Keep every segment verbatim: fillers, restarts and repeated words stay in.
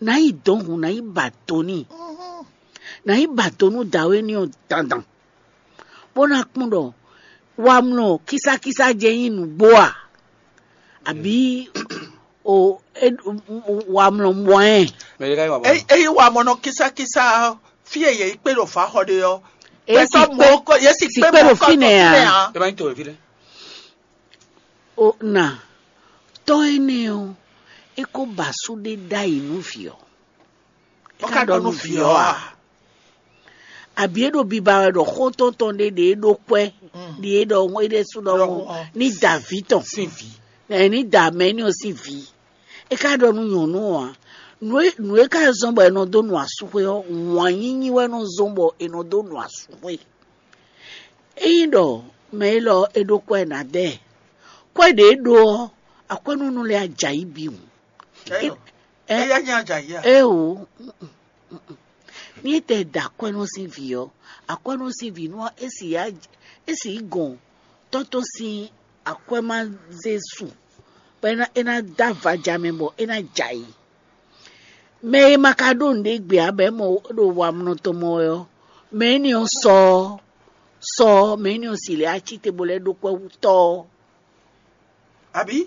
Nǎ yi dɔn hǔn, nǎ yi ba do n'i, nǎ yi ba do nú dǎwe ní ɔ́ dandan, bó ná kpɔ́n ɖɔ wamlɔ kísákísá jɛ nyí nǔgbó a, àbí o wamlɔ mɔ ɛ? Ényí wamlɔ kísákísá ɔ́, fí e yě yi kpé ɖo fǎxɔ ɖe ɔ́, gbɛtɔ́ mɔ̌ yě si kpé mɔ̌ kɔ fínɛ́ ǎ. O na tɔ́ énɛ́ ɔ́, é kó ba sú ɖé ɖ'ayǐ nú vǐ ɔ́. É ka ɖɔ nú vǐ ɔ́ a? Àbí é ɖo biba wɛ ɖɔ xó tɔn tɔn ɖé ɖě é ɖó kwɛ́, ɖě é ɖɔ é ɖésú ɖɔhun ní da vǐ tɔn, sín vǐ. Ní da mɛ énɛ́ ɔ́ sín vǐ. É ka ɖɔ nú nyɔ̌nu ɔ́ ǎ. Nǔ e nǔ e ka zɔ́n bɔ è nɔ dó nu asúxwé ɔ́, wǎn nyínyí wɛ nɔ zɔ́n bɔ è nɔ dó nu asúxwé. Ényí ɖɔ mɛ élɔ́ é ɖó kwɛ́ ná dɛ, kwɛ́ ɖě é ɖó ɔ́, akwɛ́núnú lɛ́ɛ á jɛ ayǐ bǐ hǔn. Éyɛ́ nyí ajǎyí a? Éeǒ, ní é tɛ da akwɛ́nú sín vǐ ɔ́, akwɛ́nú sín vǐ nú é sì yi gɔn tɔ́ tɔn sín akwɛ́ ma zé su, bɔ é ná dó avaja mɛ bɔ é ná jɛ ayǐ. Mɛ e ma ka ɖó nǔɖé gbe ǎ bɔ é mɔ ɖo wamlɔ tɔn mɔ wɛ ɔ́, mɛ énɛ́ ɔ́ sɔ ɔ́, sɔ ɔ́, mɛ énɛ́ ɔ́ si lɛ́ á cí te bó lɛ́ ɖó kwɛ́ wú tɔ́ ɔ́. Abǐ?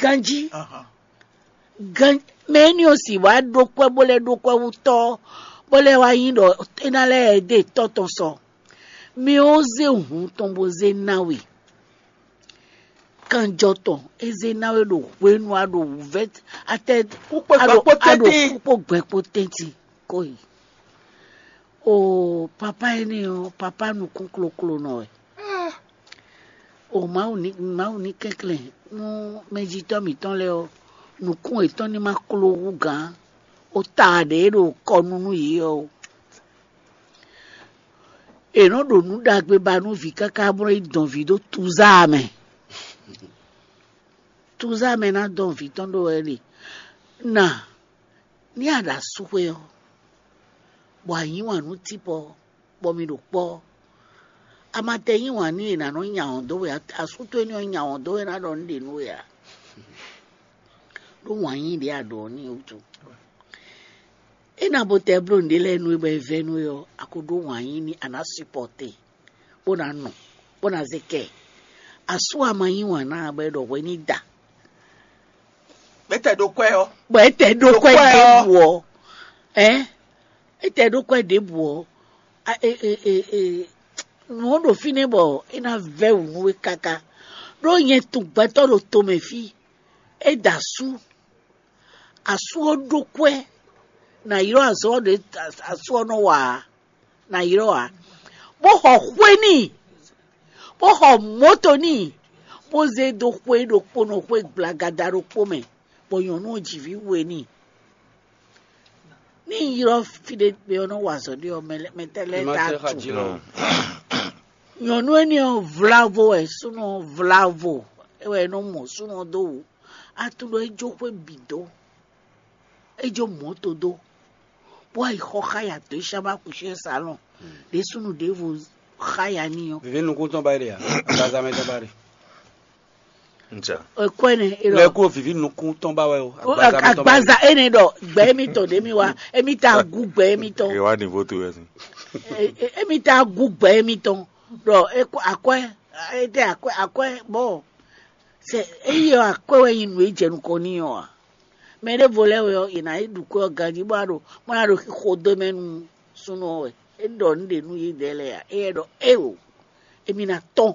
Ganjí. Gan mɛ énɛ́ ɔ́ si wǎ ɖó kwɛ́ bó lɛ́ ɖó kwɛ́ wú tɔ́ ɔ́, bó lɛ́ wá nyí ɖɔ é ná lɛ́ dó tɔ́ tɔn sɔ. Mɛ ɔ́ zé hǔn tɔn bó zé ná we. Kanjɔ tɔn é zé ná we ɖo hwenu a ɖo wǔvɛ́ atɛ kúkpó gbɛkpó tɛ́ntin. Kúkpó gbɛkpó tɛ́ntin kó yi. Oo, papá énɛ́ ɔ́, papá nukún kloklonɔ wɛ. O Mawu ní Mawu ní kɛnklɛ́n nú mɛjitɔ́ mǐtɔn lɛ́ɛ ɔ́, nukún yětɔn ní ma kló hú gǎn, ó ta ɖě ɖo kɔ nú nú yě ɔ́. È nɔ́ ɖo nǔ ɖagbe ba nú vǐ káká bó nɔ́ yi dɔn vǐ ɖó tuzá mɛ. Tuzá mɛ ná dɔn vǐ tɔn ɖó wɛ ɖe. Na ní a ɖo asúxwé ɔ́, bɔ a yí wǎn nú típɔ, bɔ mi ɖo kpɔ́, a ma tɛ yí wǎn n'i è nǎ nɔ nya wɔn dó we ǎ. Asú towe ní ɔ́ nya wɔn dó we ná ɖɔ nǔ ɖě nú we ǎ. Ɖó wǎn yí ɖě a ɖǒ n'i wútu. É ná bo tɛ bló nǔɖé lɛ́ɛ nú we bɔ è vɛ́ nú we ɔ́, a ko ɖó wǎn yí n'i a nǎ supɔ́te, bó ná nɔ, bó ná zé kɛ. Asú a ma yí wǎn ná ǎ bɔ è ɖɔ hwɛ ní da. Bɛ́tɛ ɖó kwɛ́ ɔ́. Bɔ é tɛ ɖó kwɛ́ ɖěbǔ ɔ́, ɛ é tɛ ɖó kwɛ́ ɖěbǔ ɔ́, a- e- e- e- e- nǔ ɔ́ ɖo fínɛ́ bɔ é ná vɛ́ wǔ nú we káká. Ɖó nyɛ tunwun gbɛtɔ́ ɖo tomɛ fí, é da asú, asú ɔ́ ɖó kwɛ́, nǎ ylɔ́ azɔ̌ ɖě asú ɔ́ nɔ wa ǎ, nǎ ylɔ́ ǎ, bó xɔ xwé n'i, bó xɔ mɔ̌to n'i, bó zé dó xwé ɖokpónɔ xwé gblagada ɖokpó mɛ, bɔ nyɔ̌nu ɔ́ ji vǐ we n'i. Ní un ylɔ́ fí ɖé gbe ɔ́ nɔ wa azɔ̌ ɖé ɔ́, mɛ tɛ́ lɛ́ɛ ta tu. Nyɔ̌nu énɛ́ ɔ́ vlavo wɛ súnnu ɔ́ vlavo, é wɛ é nɔ mɔ súnnu ɔ́ dó wǔ. A tunwun ɖɔ é jó xwé bǐ dó, é jó mɔ̌to dó, bó wá yi xɔ xáya dó é sá bá kú sín salɔn ɖě súnnu ɖěvo xáya n'i ɔ́. Vivi nukún tɔn ba ɖe ǎ, agbaza mɛ tɔn ba ɖe. Kwɛ́ nɛ é lɔ. Lɛ kó vivi nukún tɔn ba wɛ o. Agbaza mɛ tɔn ba ɖe. Agbaza énɛ́ ɖɔ gbɛ émítɔn ɖě mi wá, émí ta gú gbɛ émítɔn. È wá nìvo towe wɛ sin. Émí ta gú gbɛ émítɔn ɖɔ akwɛ́, é tɛ akwɛ́ akwɛ́ bɔ sɛ éyi ɔ́ akwɛ́ wɛ nyi nǔ e jɛ nukɔn n'i ɔ́ ǎ. Mɛ ɖěvo lɛ́ɛ wɛ ɔ́, yě ná yi ɖu kwɛ́ ɔ́ ganjí bó ná ɖo bó ná ɖo xixo dó mɛ nú súnnu ɔ́ wɛ. É ɖɔ nǔ ɖě nú yědɛɛ lɛ́ɛ ǎ. Éyɛ́ ɖɔ éeǒ, émí ná tɔ́n,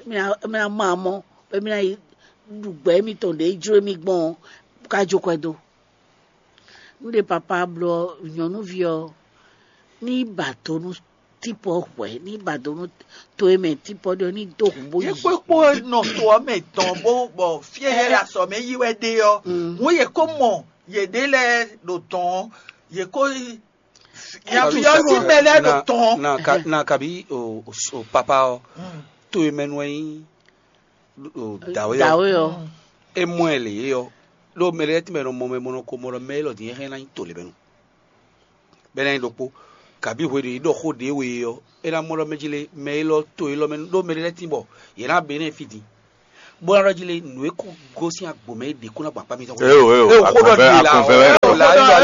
émí ná émí ná mɔ amɔ́, bɔ émí ná yi ɖu gbɛ émítɔn ɖě jló émí gbɔn ɔ́, bó ká jó kwɛ́ dó. Nú ɖé papá bló ɔ́, nyɔ̌nuví ɔ́ ní ba do nú típɔ hwɛ̌, ní ba do nú to e mɛ típɔ ɖe ɔ́ ní dó hǔn bó yí. Yě kpó kpó nɔ to ɔ́ mɛ dɔn bó bɔ fí e yě ɖo azɔ̌ mɛ yí wɛ ɖe ɔ́, hǔn yě kó mɔ yěɖée lɛ́ɛ ɖo dɔn ɔ́, yě kó yafyɔ́ sí mɛ lɛ́ɛ ɖo tɔn. Na ka- na kabi o o- o papa ɔ to e mɛ nu ɛ nyí o dawe ɔ Dawé ɔ. E mɔ ɛ lě é ɔ ɖó mɛ lɛ́ɛ tɛ́nmɛ nɔ mɔ mɛ mɔ nɔ ko mɔ ɖɔ mɛ élɔ́ din é hɛn ná nyí to lě mɛ nu bɛ́ ná nyí ɖokpó kabi hwe ɖě é ɖɔ xó ɖě we ɔ é ná mɔ ɖɔ mɛ jí lé mɛ élɔ́ to élɔ́ mɛ nu ɖó mɛ lɛ́ɛ tín bɔ yě ná bɛ nɛ́ fí din bó ná ɖɔ jí lé nǔ e kó gosín agbo mɛ é ɖě kó ná gbɔn akpá mitɔn. Eo eo Eo xó ɖɔ agbɔnvɛ ɖe la agbɔnvɛ wɛ. Eo la ewɔ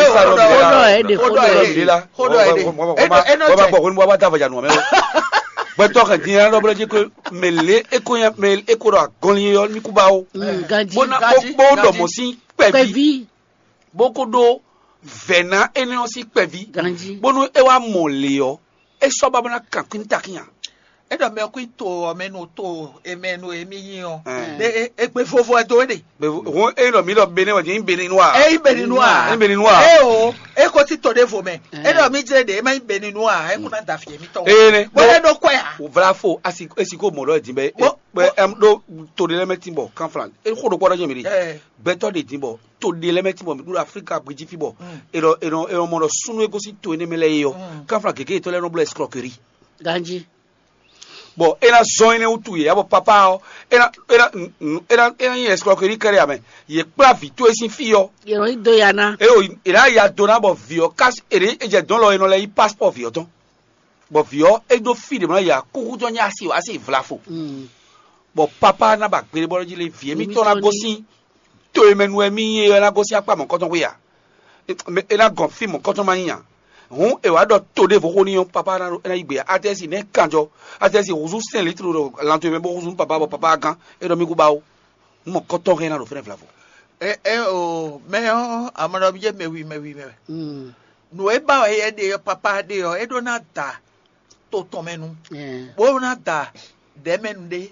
Ede xó ɖɔ ede. Xó ɖɔ ede. Ede eno tɛ. Bɔ hwenu bɔ wa da vaja nua mɛ o. Gbɛtɔ kan din ya lɔ bla dzi ko mɛ le eko ya mɛ eko ɖɔ agɔnli yɔ mi ku ba o. Ganji. Bona kpokpo ɖɔ mɔ si kpɛvi. Kpɛvi. Bó ko ɖó vɛ̌ ná énɛ́ ɔ́ sín kpɛví, ganjí, bónú é wá mɔ lě ɔ́, é sɔ́ ba bó ná kan kwín takin ǎ. É ɖɔ mɛ kwín to ɔ́ mɛ nu to emɛ nu emi nyi ɔ́. Ɛn. Ɖe e- egbe vovo ɛ do é ɖe. Hɔn é ɖɔ mǐ ɖɔ Benin wɛ nyí Benin nua. Eyi beni nu a? Nyí Benin nua. E o, e ko ti to ɖe vo mɛ. Ɛn. E ɖɔ mi jɛ ɖe e ma nyi beni nu a, e ko na da fi emi tɔ. Ee ne. Bó e ɖo kɔɛ a? Vla fo asi esi ko mɔ lɔ din bɛ. Bó- bɛ ɛm ɖo to ɖe lɛ mɛ tin bɔ kanflan e xo ɖo kpɔ ɖɔ jɛ mi ɖe. Ɛ. Gbɛtɔ ɖe din bɔ to ɖe lɛ mɛ tin bɔ mi ɖo Afrika gbejí fi bɔ. Mm. E ɖɔ e ɖɔ e ɖɔ mɔ ɖɔ sunu e gosín to énɛ́ mɛ lɛ́ɛ é ɔ́. Mm. Kanflan gěgé yětɔn lɛ́ɛ nɔ bló escroquerie. Ganjí. Bɔ é ná zɔn énɛ́ wútu yě ya bɔ papa ɔ́ é ná é ná é ná é ná nyí escroquerie kɛɖɛ amɛ. Yě kplá vǐ towe sín fí ɔ́. Yě nɔ yi do ya ná. Eye o è nǎ ya do ná bɔ vǐ ɔ́ ká è ɖě è jɛ dɔ̌n lɔ è nɔ lɛ́ yí passport vǐ ɔ́ tɔn. Bɔ vǐ ɔ́ é ɖó fí ɖě mɔ yě akúxú tɔn nyí asi o asi vlafo. Mm. Bɔ papa ná ba gbeɖé bɔ jí lé vǐ émítɔn ná gosín to e mɛ nu wɛ mì nyí é ɔ́ ná gosín akpá mɔ̌kɔtɔn xwé a? É ná gɔn fí mɔ̌kɔtɔn ma nyí a? Hǔn è wǎ ɖɔ to ɖěvo xó n'i ɔ́, papa ná é ná yí gbe ǎ. Atɛ́si nɛ́ kanjɔ, atɛ́si húzú sɛn litru ɖo lanto e mɛ bó húzú nú papa bɔ papa gán é ɖɔ mì kú ba ó. Hǔn mɔ̌kɔtɔn hɛn ná ɖo fɛ́nɛ vlavo. E e o mɛ ɔ́ amɔɖɔbí jɛ mɛ wi mɛ wi mɛ wɛ. Mm. Nǔ e ba wɛ yɛ ɖe ɔ́ papa ɖe ɔ́ é ɖó ná da to tɔn mɛ nu. Ɛɛ. Bó ná da dɛ̌ mɛ nu ɖé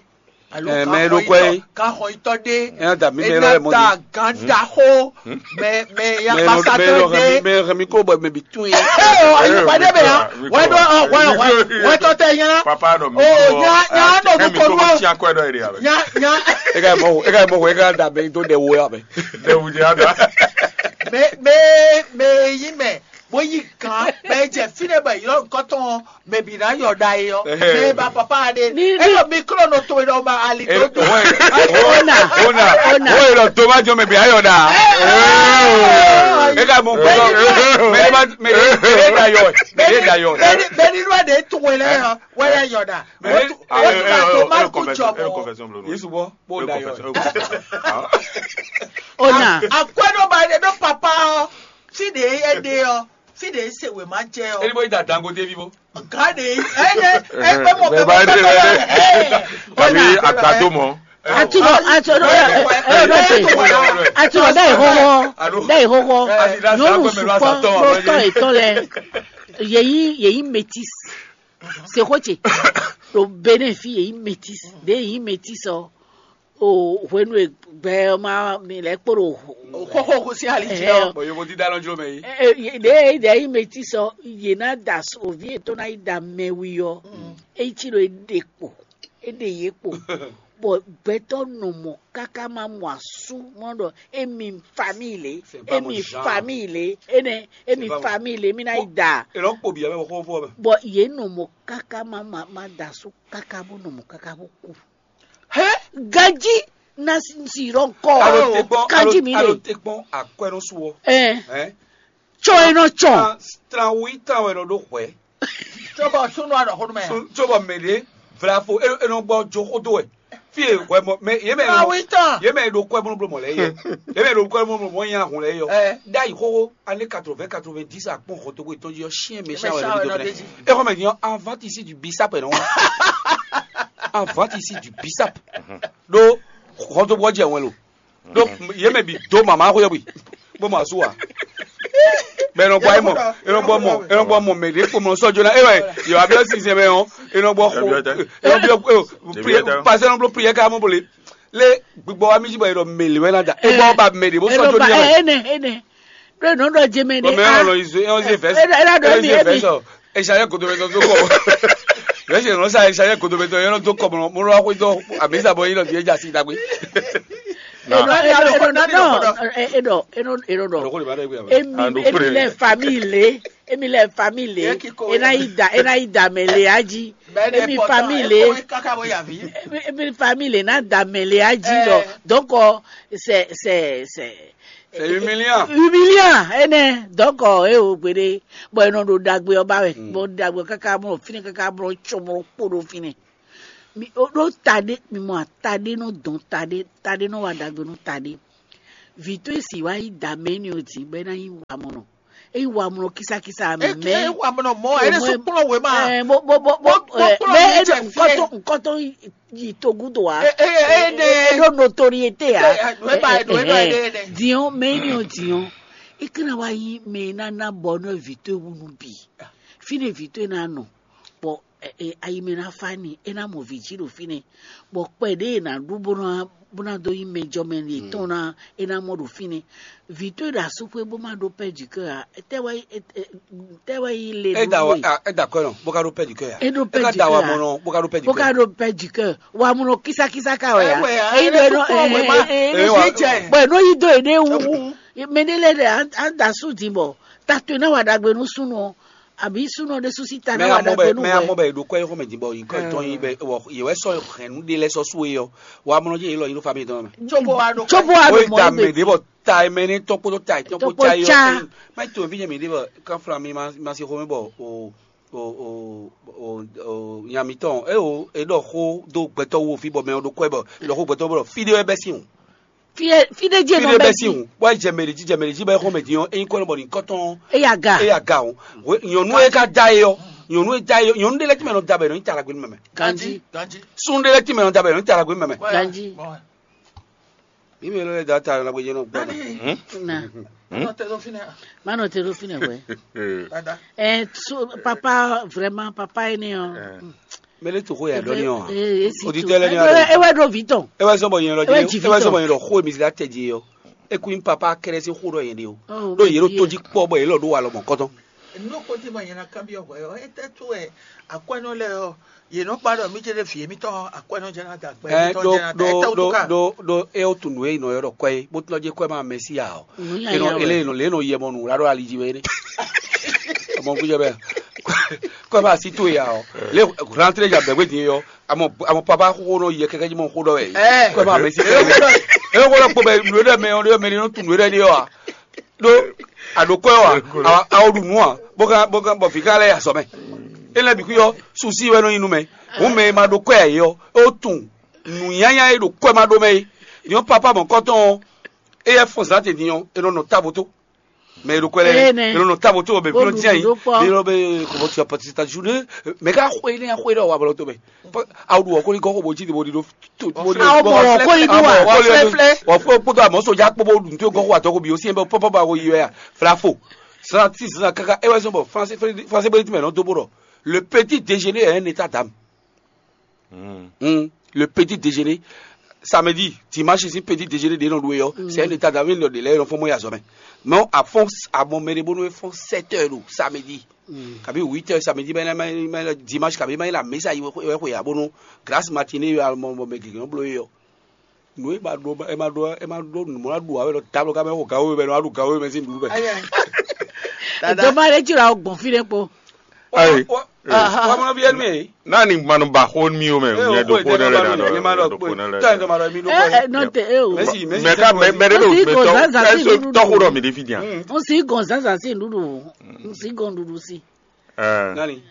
alo Ɛɛ, mɛ e ɖo kwɛ é. Kanxɔyitɔ ɖé Ɛ ná da mí mɛ é lɔ ná yɛ mɔ da di. Gán ɖaxó mɛ mɛ Mɛ e nɔ- mɛ e yakpasadɔ nɔ hɛn mí- ɖé. Mɛ e hɛn mí kó bɔ mɛ bǐ tún yé. Ee o ayi pàdé bɛ yan wɛ ɖɔ wɛ wɛ wɛ tɔ tɛ yẹn na. Papa nɔ mi. O nya nya nɔ mi kɔ nɔ. Nya nya. E ka mɔ e ka mɔ e ka da mɛ do ɖɛ wo ya mɛ. Ɖɛwu jɛ ada. Mɛ mɛ mɛ yi mɛ bó yí gán bɛ jɛ fínɛ bɛ yɔ nkɔtɔn mɛ bǐ ná yɔ ɖa yi ɔ. Mɛ ba papa ɖe. Ni- eye mi kúrò nɔ to ɖɔ ma ali tó dùn. Ona. Ona. Ona. Oye lɔ tó ma jọ mɛ bǐ ayɔ ɖa. E ka mɔ gbɔdɔ mɛ ne ma mɛ ne mɛ ne da yɔ mɛ ne da yɔ. Bɛni bɛni ló de tó wɛ lɛ yɔ wɛ yɛ yɔ ɖa. Mɛ ne- Wọ́n tún máa kó jọ mọ́. Yesu bɔ bó da yɔ. Ona. Akwɛ́ ɖó ba ɖe ɖó papa ɔ fí ɖe é ɖe ɔ fí ɖe é se wěma jɛ ɔ. Eni bó yi da dangote vivo. Gán ɖe é ɖe é pé mɔ pé mɔ pé mɔ. Tàbí àgbàdo mọ́. Atúbọ̀ atúbọ̀ ẹ ẹ bẹ tẹ atúbọ̀ bẹ́ẹ̀ hóhó bẹ́ẹ̀ hóhó nyɔnu sùpọ̀ ló tọ́ ìtọ́ lẹ yẹ̀yí yẹ̀yí métis sèkótsè ló Benin fi yẹ̀yí métis ɖé yẹ̀yí métis ɔ o hwenu e gbɛ ɔ́ ma mi lɛ kpo ɖo Xóxó kú sí ali jí ɔ. Bɔn yovo dídá lɔ jló mɛ yìí. Ɖe ɖe yi mɛ ti sɔ yě ná da oví yětɔn ná yi da mɛwi ɔ, é cí ɖo é ɖe kpo, é ɖe yě kpo, bɔ gbɛtɔ́ nɔ mɔ káká má mɔ asú mɔ ɖɔ émi famille lě, émi famille lě, énɛ́ émi famille lě, émi ná yi da. È nɔ kpo bǐ ɔ́ mɛ bɔ xó fɔ mɛ. Bɔ yě nɔ mɔ káká má má má da asú káká bó nɔ mɔ káká bó kú. Hɛn ganji na si rɔ nkɔ. Alo te gbɔn alo Kanji mi alo le. Te gbɔn akwɛnɔsu wɔ. Ɛn. Hɛn. Tsɔ enɔ tsɔ. Tran tran wi tran wɛ nɔ ɖo hwɛ. Tso bɔ sunu anɔ xɔnu mɛ. Sun tso bɔ mɛ ɖe vlafo e e nɔ gbɔ jo xo do wɛ. Fi e hwɛ mɔ mɛ ye mɛ Tran wi tran. Ye mɛ ɖo kwɛ mlɔmlɔ mɔ lɛ yɛ. Ye mɛ ɖo kwɛ mlɔmlɔ mɔ nya hun lɛ yɔ. Ɛ. Da yi xoxo année quatre-vingts quatre-vingt-dix akpɔn xɔ togo etɔn ji ɔ siɛn mɛ Mɛ sian wɛ sian lɔ wɛ nɔ de ji. E xɔ mɛ din ɔ avant ici du bisap ɛ nɔ. Avant ici du bisap. Ɖó xɔtobɔ jɛ wɛn lo. Ɖó ye mɛ bi do mama xo yɛ bui. Bó ma su wa. Bɛ enɔ gbɔ ayé mɔ enɔ gbɔ mɔ enɔ gbɔ mɔ mɛ ɖe kpomɔ sɔjɔ na e wɛ yɔ abiɔ sinsɛn mɛ ɔ enɔ gbɔ xo enɔ biɔ priɛ pasɛ enɔ blo priɛ ka mɔ bole le gbigbɔ wa mi ji bɔ yɛ dɔ mɛ le wɛ na da e gbɔ ba mɛ ɖe bó sɔjɔ ni yɛ mɛ. Ene ene ɖo nɔ ɖɔ jeme ɖe. Ɔmɛ a ɛlɔ izo ɛlɔ izo fɛ ɛlɔ ɛlɔ ɖo ɛmi ɛmi. Ɛsayɛ koto bɛ tɔ tó kɔ. Yɛ sɛ nɔ sa ɛsayɛ koto bɛ tɔ yɛ nɔ tó kɔ mɔ mɔ lɔ akɔ itɔ amisa bɔ yɛ nɔ fi ɛdza si dagbe. Ɛnɔ ɛnɔ ɛnɔ ɛnɔ ɛnɔ ɛnɔ ɖɔ. Ɛnɔ kɔ de ba dɛ gbe. Emi emi lɛ famille emi lɛ famille ena yi da ena yi da mɛ le aji emi famille emi famille na da mɛ le aji lɔ donc c'est c'est c'est C'est humiliant. Humiliant, ene. Donc, eh, o gbede. Bon, e nɔ ɖo ɖagbe ɔ́ ba wɛ. Bon, ɖagbe káká mɔ fínɛ káká mɔ tsɔmɔ kpo ɖo fínɛ. Mi o ɖo taɖe, mi mɔ ataɖe nɔ dɔn taɖe, taɖe nɔ wa ɖagbe nɔ taɖe. Vǐ towe si wá yi da mɛ énɛ́ ɔ́ din bɔ é ná nyí wamɔnɔ. Eyi wa mlɔ kisakisa mɛ. Ewa mlɔ mɔ, ene su kplɔn wema. Bo bo bo bo. Mɛ edo nkɔtɔn nkɔtɔn yi togudo wa. Ene. Edo notoriete ya. Wema edo edo ene. Diɔn mɛ ni o diɔn. Ekena wa yi mɛ na na bɔ nɔ vi to ewunu bi. Fine vi to ena nɔ. Bɔ ayi mɛ na fa ni, e na mɔ vǐ jí ɖo fínɛ́, bɔ kpɛ ɖě e nǎ ɖu bó ná bó ná dó nyí mɛjɔmɛ yětɔn ná, é ná mɔ ɖo fínɛ́. Vǐ towe ɖo asúxwé bó má ɖó pɛ́ jǐkɛ ǎ, tɛ́ wɛ nyí tɛ́ wɛ nyí le é da nú wa we? Ah, é da kɔ́ nɔ bó ka ɖó pɛ́ jǐkɛ ǎ. É ɖó pɛ́ É ka da jǐkɛ wa ǎ. Mɔnɔ bó ka ɖó pɛ́ Bó jǐkɛ. Ka Ɖó pɛ́ jǐkɛ, wa mlɔ kísákísá ká wɛ ǎ. Ɛ wɛ ǎ, Eyi é ɖɔ ɖɔ é nɔ sukpɔ́ wɛ má. Ɛ, ɛ, Ɛ wá. Bɔ è nɔ yí dó yěɖée wú. Mɛ ɖé lɛ́ɛ ɖe á da sú din bɔ ta towe ná wa ɖagbe nú súnnu ɔ́, àbí súnnu ɔ́ ɖésú sí ta mɛ ná wa amɔ ɖagbe bɛ nú mɛ amɔ hwɛ. Bɛ ɖo kɔ yixɔ mɛ din bɔ yi kɔ tɔn yi bɛ wɔ yewɛ sɔ hɛn nu ɖe lɛ sɔ su ye ɔ wa mɔ jɛ yi lɔ yi ɖo fa mi tɔn mɛ. Tsobo wa ɖo Tsobo wa o ɖo yi mɔ ta mɛ egbe. De bɔ ta mɛ ne tɔn kpótó ta tɔn kpó Tɔkpó tsa yi tsa. Ɔ mɛ to fi jɛ mi de bɔ kan fla mi ma ma se xɔ mi bɔ o o o o o nya mi tɔn e o e ɖɔ xó do gbɛtɔ wo fi bɔ mɛ o ɖo kɔ bɔ e ɖɔ xó gbɛtɔ bɔ fi de wɛ bɛ si o. Fie fide dzi fi nɔ ɖe bɛ bɛ si dzi. O wa jɛ mɛ ɖe dzi jɛ mɛ ɖe dzi bɛ xɔ mɛ din ɔ eyin kɔ nɔ bɔ ni kɔtɔn Eya ga. Eya ga o. Nyɔnu e ka da ye ɔ nyɔnu e da ye ɔ nyɔnu ɖe lɛ ti mɛ nɔ da bɛ nɔ nyi ta la gbe mɛ mɛ. Ganji. Ganji. Sun ɖe lɛ ti mɛ nɔ da bɛ nɔ nyi ta la gbe mɛ mɛ. Ganji. Bon. Mi mɛ lɛ da ta la gbe jɛ nɔ gbɔ mɛ. Dani. Na. Hmm? Nɔ tɛ dɔ fi nɛ. Ma nɔ te ɖo fi nɛ wɛ. Dada. Eh, so, papa vraiment papa ye ne ɔ. Mɛ ɖe to xó ya ɖɔ ní ɔ. Oditɛ lɛ ní ɔ. Ewe ɖo vi tɔn. Ewe sɔn bɔ yɛn lɔ Ewe jɛ ji vi ewe sɔn tɔn. Bɔ yɛn lɔ xó mi si la tɛ ji yɔ. Eku yin papa kɛrɛ si xó ɖɔ yɛn de o. Oh, ɖo yɛn ɖo to ji kpɔ bɔ yɛn lɔ ɖo wa lɔ mɔ kɔtɔn. Nú kò tí ma yẹn na kábíyọ̀ wẹ̀ ọ́, é tẹ́ tó ẹ̀ akwɛ́nɔ lɛ ɔ, yě nɔ kpa ɖɔ mí jɛ ɖe vǐ émítɔn akwɛ́nɔ jɛ ná da gbɛ Ɛ émítɔn ɖo jɛ ná da ɛ ɖo tɛ wó tó ɖo ká. Ɖo ɖo e o tunu e nɔ yɔ ɖɔ kɔɛ bó tɔn jɛ kɔɛ ma mɛ si ya o. Nǔ nya E nɔ nya ele wɛ. E nɔ le e nɔ yɛ mɔ nu la ɖo ali ji wɛ ne. Mɔ kú jɛ bɛ. Kɔɛ ma si to ya o. Le rentre ja bɛgbe din yɔ. Amɔ amɔ papa xo nɔ yɛ kɛkɛ ji mɔ xo dɔ wɛ. Ɛ. Kɔɛ ma mɛ si kɛ. E ko lɔ kpo bɛ nu ɖe mɛ ɔ ɖe mɛ ni nɔ tunu ɖe ni yɔ a. Ɖó aɖokɔ́ ɔ́ ǎ, a a ko ɖu nǔ ǎ, bó ka bó ka bɔ vǐ ka lɛ́ yi azɔ̌ mɛ. Énɛ́ bǐ xwí ɔ́, susi wɛ nɔ nyi nú mɛ. Hǔn mɛ e ma ɖó kwɛ́ ǎ é ɔ́, é ko tunwun nǔnyanya e ɖo kwɛ́ ma ɖó mɛ é. Din ɔ́, papá mɔ̌kɔtɔn ɔ́, éyɛ́ fɔ́n zǎn din din ɔ́, è nɔ nɔ távo tó. Mɛ e ɖo kwɛ́ lɛ́ɛ, Énɛ́. È nɔ nɔ távo tó bɔ mɛ Bó fínɔ ɖu dín ayǐ. Nǔ ɖó kpɔ́. Mɛ e nɔ bɛ kɔmɔtì ɔpɔtì ta ju ɖé, mɛ ka xwé énɛ́ xwé ɖɔ wa blɔ tó mɛ. Awu ɖu wɔ̌ kóli gɔ́ xó bó jí bo ɖi ɖó. Awu mɔ wɔ̌ kóli ɖu wa. Wɔ̌ kóli ɖu. Wɔ̌ kóli kpódó amɔ̌ sodza kpó bó ɖu nǔ tó gɔ́ xó atɔ́ xó bǐ ó syɛ́n bɛ pɔ́pɔ́ ba xó yi wɛ a. Flafo. Santí zan káká é wɛ zɔ́n bɔ Fransé Fransé bó ti mɛ nɔ dó bó ɖɔ. Le petit déjeuner est un état d'âme. Hmm. Le petit déjeuner. Samedi, dimanche, c'est petit déjeuner de l'on doit. C'est un état d'âme, il est là, il faut moi à sommet. Mais à fond, à mon méré, bon, nous font sept heures, samedi. Kabi huit heures samedi, mais mais dimanche, kabi mais la messe à y avoir, grâce matinée, à mon mon mec qui ont bloqué. Nú e ma ɖo e ma ɖo e ma ɖo nǔmɔ́ ɖu awɛ lɔ ta blɔ ká mɛ xo gawo mɛ nɔ aɖu gawo mɛ sín nǔɖuɖu mɛ. Dada. Doma ɖe tsi la gbɔn fi ɖe kpo. Ayi. Wa mɔ viɛ nú e. Nani manu ba xo mi o mɛ. Nyɛ do xo ne lɛ na do xo ne lɛ. Tɔ in tɔ ma ɖɔ mi ɖo kɔ. Ɛ nɔ te e o. Mɛsi mɛsi. Mɛ ka mɛ mɛ de do mɛ tɔ ɛsɛ tɔxo dɔ mi de fi diya. N si gɔn zanzan si nuɖuɖu. N si gɔn nuɖuɖu si. Nani.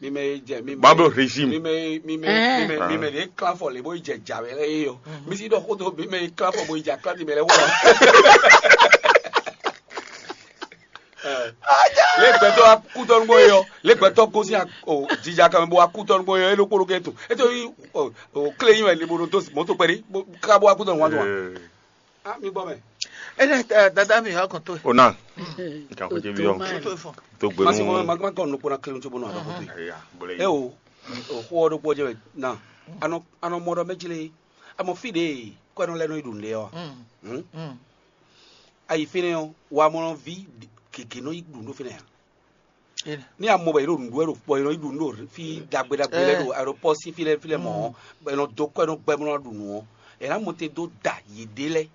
Mi mɛ e jɛ mi mɛ Babo régime. Mi mɛ mi mɛ Ɛɛ. Mi mɛ mi mɛ de klan fɔ le bo yi jɛ ja wɛ lɛ ye yɔ. Mi si ɖɔ xo to mi mɛ e klan fɔ bo yi ja klan ti mɛ lɛ wɔ. Le gbɛtɔ akutɔnu bɔ yɔ le gbɛtɔ gosi o jija kan bɔ akutɔnu bɔ yɔ e ɖo kpolo kɛ to e to yi o kle yi wɛ le bo ɖo to mɔto kpɛɖi ka bɔ akutɔnu wa to wa. Ah, mi gbɔ mɛ. Ene dada mi ha kɔn to. Ona. Nka ko je bi on. To fɔ. To gbe Masi mo nu. Ma ma kɔn no kpona kle nutso bono aba koto. Eya, bole. E o o xo do kpɔ je na. Ano ano mɔ dɔ mɛ jile. Amo fi de ko no le no idun de o. Hmm. Ayi fine o wa mo vi keke no idun do fine. Ní a mɔ bɔ yě ɖo nǔɖuɖu wɛ ɖo kpɔ yě nɔ yi ɖu nǔ ɖo fí ɖagbe ɖagbe lɛ́ɛ ɖo aeropɔ́ sín fí lɛ́ɛ fí lɛ́ɛ mɔ̌, bɔ è nɔ dó kɔ́ ɛ nɔ gbɛ bó nɔ ɖu nǔ ɔ́, è nǎ mɔ te dó da yěɖée lɛ́ɛ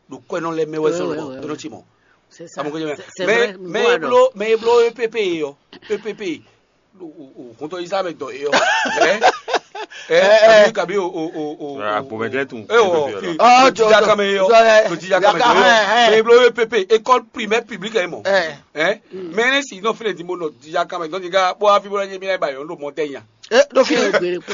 ɖo kɔ́ ɛ nɔ lɛ́ɛ mɛ wɛ zɔn lɔbɔ é nɔ cí mɔ̌. Amɔ kó jɛ mɛ mɛ e bló mɛ e bló E P P e ɔ, E P P, hɔntɔn yi sá mɛ dɔ e ɔ, ɛ ɛ kabi kabi o o o o. Agbomɛtɛ tun. E wɔ fi Ɔ, jija kame e ɔ, jija kame e ɔ, mɛ e bló E P P, école primaire publique ɛ mɔ. Ɛ mɛ ne si nɔ fi le di mo nɔ jija kame dɔn jija bɔ afi bɔ ne mi na ba yɔ n ɖo mɔ tɛ nya. E ɖo fi. Gbére kpɔ.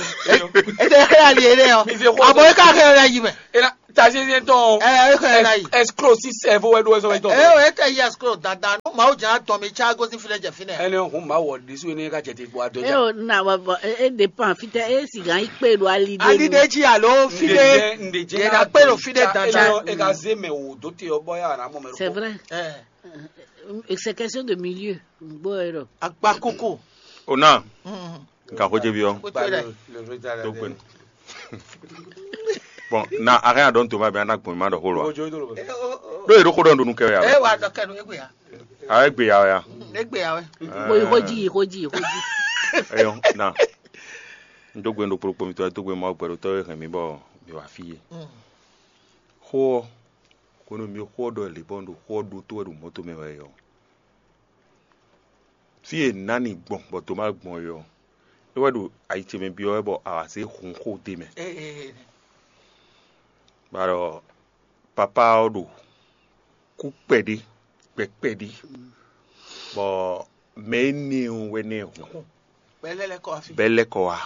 E tɛ xɛ ali yɛ dɛ yɔ. Mi fi xɔ. Abɔ e ka xɛ yɔ yi mɛ. E na ta se se tɔn. Ɛ e xɛ yɔ yi. Escroc si sɛ fo wɛ do wɛ sɔ wɛ tɔn. E o e tɛ yi escroc dandan. No ma o jan tɔn mi tsa gosi fi lɛ jɛ fi nɛ. Ɛnɛ hun ma wɔ disu ne ka jɛ te gbɔ adɔ. E o na wa bɔ e dépend fitɛ e si gan yi kpe ɖo ali de. Ali de ji alo fi de. Nde jɛ nde jɛ na kpe ɖo fi de dandan. E ka ze mɛ o do te ɔ bɔ ya na mɔ mɛ. C'est vrai. C'est question de milieu. Gbɔ yɔrɔ. Akpa koko. O na. Nka xo jɛ bi ɔ. Tó gbɛn. Bon, na a hɛn a dɔn toma bi a na gbɔn ma dɔ xo lɔ. Ɖó yɛ ɖó xo dɔn ɖo nu kɛ wɛ a. E wa dɔ kɛ nu egbe ya. A egbe ya wɛ a. Egbe ya wɛ. Xo xo ji xo ji xo ji. Eyɔ na. N dó gbe ɖo kplokplo mitɔ, dó gbe Mawu gbɛɖotɔ́ e hɛn mi bɔ mi wá fí e. Xó ɔ́, hwenu e mi xó ɔ́ ɖɔ lě bɔ un ɖo xó ɔ́ ɖótó wɛ ɖo mɔ̌ tɔn mɛ wɛ é ɔ́, fí e nǎ ni gbɔn bɔ Tomáa gbɔn é ɔ́, é wɛ ɖo ayi ce mɛ byɔ́ wɛ bɔ a wǎ zé hun xó d'é mɛ. Bɔ alɔ papá ɔ́ ɖo kú kpɛɖé, gbɛ kpɛɖé, bɔ mɛ énɛ́ ɔ́ wɛ nɛ́ hun bɔ é lɛ́ kɔ wá.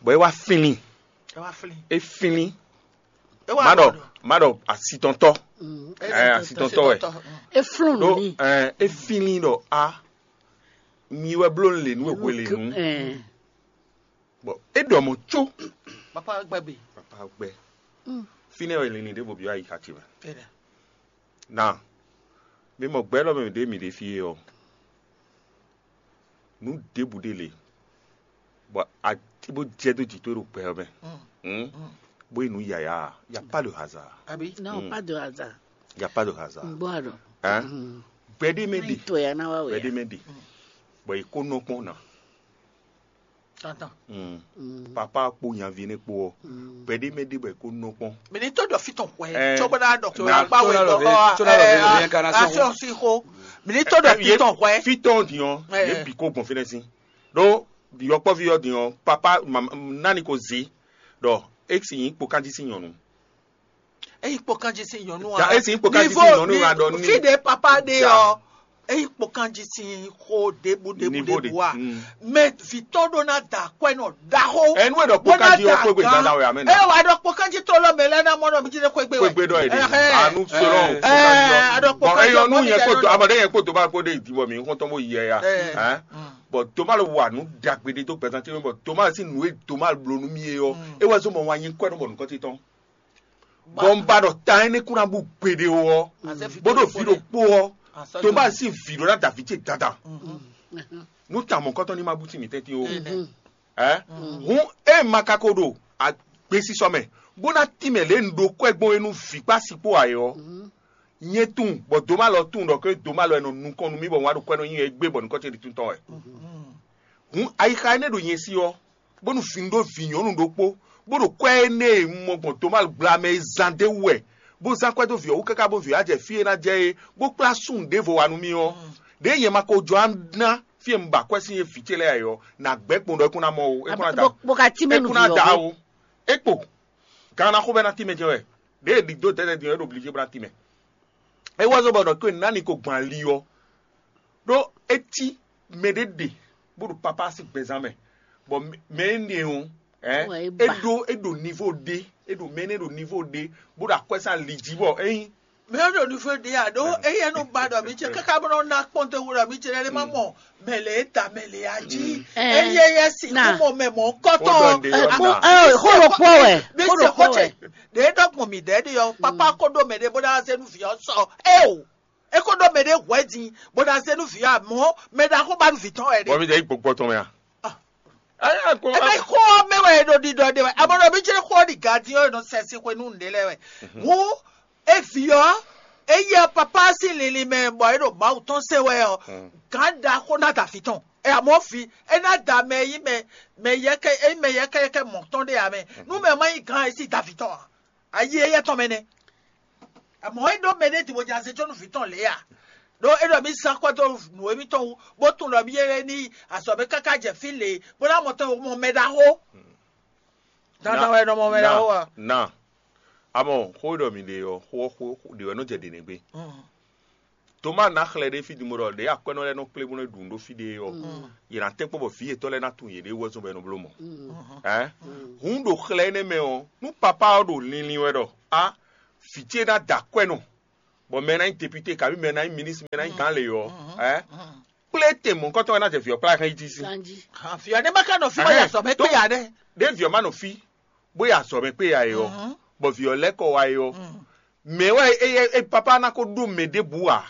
Bɔ é wá flín, é flín. Má ɖɔ má ɖɔ asitɔntɔ́, ɛ asitɔntɔ́ wɛ. É flún nǔ ɖó n'i. Ɛ é flín ɖɔ a mi wɛ bló lě nú e hwe lě nú. Bɔ é ɖɔ mɔ̌ có. Papa gbɛ be. Papa gbɛ. Fínɛ́ wɛ linlin ɖěvo byɔ́ ayixa ce mɛ. Éɖa. Na mi mɔ gbɛ élɔ́ mɛ ɖě mi ɖe fí é ɔ́, nǔ ɖěbǔ ɖé le, bɔ a bó jɛ dó jǐ towe ɖo gbɛ ɔ́ mɛ, bó yi nǔ yǎyá, y a pas de hasard. Abi. Non, pas de hasard. Y a pas de hasard. N gbọ́ àrò. Hein? Gbɛɖé mɛ ɖe. Tó ya ná wá wɛ. Gbɛɖé mɛ ɖe. Bɔ yi kó nɔ kpɔn na. Tantan. Papa kpó nyaví nɛ kpó ɔ, gbɛɖé mɛ ɖe bɔ yi kó nɔ kpɔn. Mɛ ní tó dɔ fitɔn hwɛ. Ɛ, tso bɔ náà dɔ kó tó agba wɛ dɔ ɔ ɛ asɔn si xo. Mɛ ní tó dɔ fitɔn hwɛ. Fitɔn diɔ ye bi kó gbɔn fínɛ́ sín. Ɖó yɔkpɔ́ví ɔ́ din ɔ́, papa nani ko zé ɖɔ é si nyí kpokanjí sín nyɔ̌nu. Eyi kpokanjí sín nyɔ̌nu a. Ja, é si nyí kpokanjí sín nyɔ̌nu a ɖɔ ní. Fí ɖe papa ɖe ɔ, eyi kpokanjí sín xó ɖěbǔ ɖěbǔ ɖěbǔ a. Mɛ vǐtɔn ɖó ná da akwɛ́ nɔ ɖaxó. Ɛnu e ɖɔ kpokanjí ɔ xwégbe dada wɛ amɛ nɔ. Ɛ wà ɖɔ kpokanjí tó lɔ mɛ lɛ ná mɔ nɔ mi jí lé xwégbe wɛ. Xwégbe ɖɔ yɛ di. Anu sɔrɔ kpokanjí ɔ. Ɛ ɖɔ kpokanjí ɔ mɔ mi jɛ nɔ. Amɔɖe yẹn kpó tó bá kpó ɖe ìdíbɔ mi nǹkan tó mọ yẹ ya. Bɔn Toma lɔ wà nù dàgbé ɖé tó gbẹ̀sán tí wọ́n bọ̀ Toma sì nù é Toma lò nù mí é ɔ é wá zó mọ̀ wá nyí kọ́ ẹ̀ nù bọ̀ nù kọ́ tí tɔn. Bɔ un ba ɖɔ ta énɛ́ kún ná bú gbeɖé ó ɔ́, bó ɖo vǐ ɖokpó ɔ́, Toma sì vǐ ɖó ná da vǐ ce dandan. Nú ta mɔ̌kɔtɔn ní ma bú sí mǐtɛn tí ó. Ɛ hǔn é ma ka ko ɖo agbésísɔ mɛ, bó ná tín mɛ lě un ɖo kwɛ́ gbɔn é nú vǐ kpó asi kpó ayɛ ɔ́. Nyɛ tunwun bɔ Toma lɔ tunwun ɖɔ ké Toma lɔ e nɔ nukɔn nú mì bɔ un wá ɖo kwɛ́ nɔ nyi wɛ gbé bɔ nukɔn ce ɖi tún tɔn wɛ. Hǔn ayixa énɛ́ ɖo nyɛ sí ɔ́, bónú vǐ ɖó vǐ nyɔ̌nu ɖokpó, bó ɖo kwɛ́ énɛ́ e un mɔ gbɔn Toma gbla mɛ é zán d'é wú wɛ, bó zán kwɛ́ dó vǐ ɔ́ wú káká bó vǐ ɔ́ wá jɛ fí e ná jɛ é, bó kplá súnnu ɖěvo wá nú mì ɔ́, ɖěe nyɛ ma ko jɔ ná fí e un ba kwɛ́ sín é vǐ ce lɛ́ɛ ǎ é ɔ́, nǎ gbɛ́ kpɔn ɖɔ é kún ná mɔ ó, é kún ná da ó. Bó ka cí mɛ nú vǐ ɔ́ da ó. É kpo, gan ná xó bɛ́ ná tínmɛ jɛ wɛ, ɖěe ɖi dó dɛ̌dɛ́ din ɔ́, é ɖo blí jí bó ná tínmɛ. É wá zɔ́ bɔ ɖɔ kó nǎ ni ko gbɔn ali ɔ́, ɖó é cí mɛɖé ɖe bó ɖo papá sín gbɛzán mɛ, bɔ mɛ énɛ́ ɔ́, é ɖó é ɖo nivo ɖé, é ɖo mɛ énɛ́ ɖo nivo ɖé, bó ɖo akwɛ́ sín ali jí bɔ é nyí. Mɛ ɔ́ ɖo nivo ɖé a ɖó éyɛ́ nɔ ba ɖɔ mǐ ce káká bó nɔ ná kpɔ́n dó wú ɖɔ mǐ ce lɛ́ɛ má mɔ mɛ lě e ta mɛ lě a jí. Éyɛ́ yɛ sixú mɔ mɛ mɔ̌kɔtɔn. Xó ɖokpó wɛ. Mǐ se xó ce ɖě ɖɔ gbɔn mǐ ɖɛ̌ ɖi ɔ́, papá kó ɖó mɛ ɖé bó ná zé nú vǐ ɔ́ sɔ é o. É kó ɖó mɛ ɖé hwɛ̌ din bó ná zé nú vǐ ɔ́, amɔ̌ mɛ ɖaxó ba nú vǐ tɔn wɛ ɖe. Bɔ mi jɛ yi gbɔgbɔ tɔn mɛ a? Ebe xó ɔ́ mɛ wɛ è ɖo ɖiɖɔ ɖe wɛ. Amɔ̌ ɖɔ mǐ jɛ xó ɔ́ ɖi gǎn din ɔ́, è nɔ sɛ sin xwe nú nǔɖé lɛ́ɛ wɛ. Hǔn é vǐ ɔ́, é yɛ papá sín linlin mɛ bɔ é ɖo Mawu tɔn se wɛ ɔ́, gǎn ɖaxó ná da vǐ tɔn. Ɛ amɔ̌ vǐ, é ná da mɛ e nyí mɛ mɛ yɛkɛ e nyí mɛ yɛkɛyɛkɛ mɔ̌ tɔn ɖé ǎ mɛ. Nú mɛ ma nyí gǎn ɛ sí da vǐ tɔn ǎ. Ayi éyɛ́ tɔn mɛ nɛ́. Amɔ̌ é ɖó mɛɖé din bó jɛ azé có nú vǐ tɔn lě a? Ɖó é ɖɔ mǐ zán akwɛ́ dó nǔ émítɔn wú, bó tunwun ɖɔ mǐ yé ní yi azɔ̌ mɛ káká jɛ fí lě, bó ná mɔ tɔn mɔ mɛ ɖaxó. Dandan wɛ è nɔ mɔ mɛ ɖaxó a? Na, amɔ xó e ɖɔ mi ɖe ɔ́, xó ɔ́ xó ɖě wɛ nɔ jɛ ɖě nɛ́ gbé. Toma ná xlɛ ɖé fí din bó ɖɔ ɖě akwɛ́nɔ lɛ́ɛ nɔ kplé bó nɔ ɖu nǔ ɖó fí ɖé ɔ́, yě ná tɛ́nkpɔ́n bɔ vǐ yětɔn lɛ́ɛ ná tunwun yěɖée wɛzɔ́n bɔ é nɔ bló mɔ̌. Hǔn ɖo xlɛ énɛ́ mɛ ɔ́, nú papá ɔ́ ɖo linlin wɛ ɖɔ á, vǐ ce ná da akwɛ́nɔ, bɔ mɛ ná nyí deputé, kabí mɛ ná nyí ministre, mɛ ná nyí gǎn lě ɔ́, ɛ kplé tɛn mɔ̌hunkɔtɔn wɛ ná jɛ vǐ ɔ́ kplá hɛn yi jí sín. Kanjí. Vǐ ɔ́ nɛ́ má ka nɔ fí bɔ ya sɔ mɛ kpé ya nɛ́. Ɖé vǐ ɔ́ má nɔ fí, bó yi azɔ̌ mɛ kpé ya é ɔ́, bɔ vǐ ɔ́ lɛ́ kɔ wá é ɔ́, mɛ̌ wɛ é, é, é papá ná ko ɖó mɛ ɖěbǔ ǎ,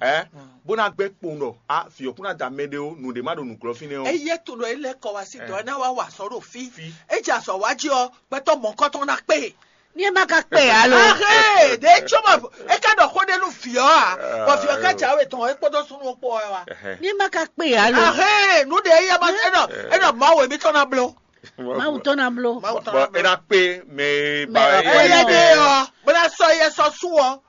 ɛ bó ná gbɛ́ kpowun ɖɔ a vǐ ɔ́ kún ná da mɛ ɖé ó, nǔɖé má ɖo nǔglɔ́ fínɛ́ ɔ́. Eye to ɖɔ é lɛ́ kɔ wá sí dɔ̌ ná wá wa sɔ̌ ɖo fí. Fí. É jɛ azɔ̌ wá jí ɔ́, gbɛtɔ́ mɔ̌kɔtɔn ná kpé. Ní ɛ má ka kpé alo. Ahé, ɖě é cóbɔ é ká ɖɔ xó ɖé nú vǐ ɔ́ ǎ, bɔ vǐ ɔ́ ká jǎwe tɔn é kpódó súnnu kpó wɛ wá. Ní ɛ má ka kpé alo. Ahé, nǔ ɖě é yá ma é nɔ é nɔ Mawu émítɔn ná bló. Mawu tɔn ná bló. Mawu tɔn Bɔ ná é bló. Ná kpé mɛ e Mɛ ba ɔ́ é kpé Éyɛ́ ɔ́. Ɖé ɔ́, bó ná sɔ́ éyɛ́ sɔ́ sú ɔ́.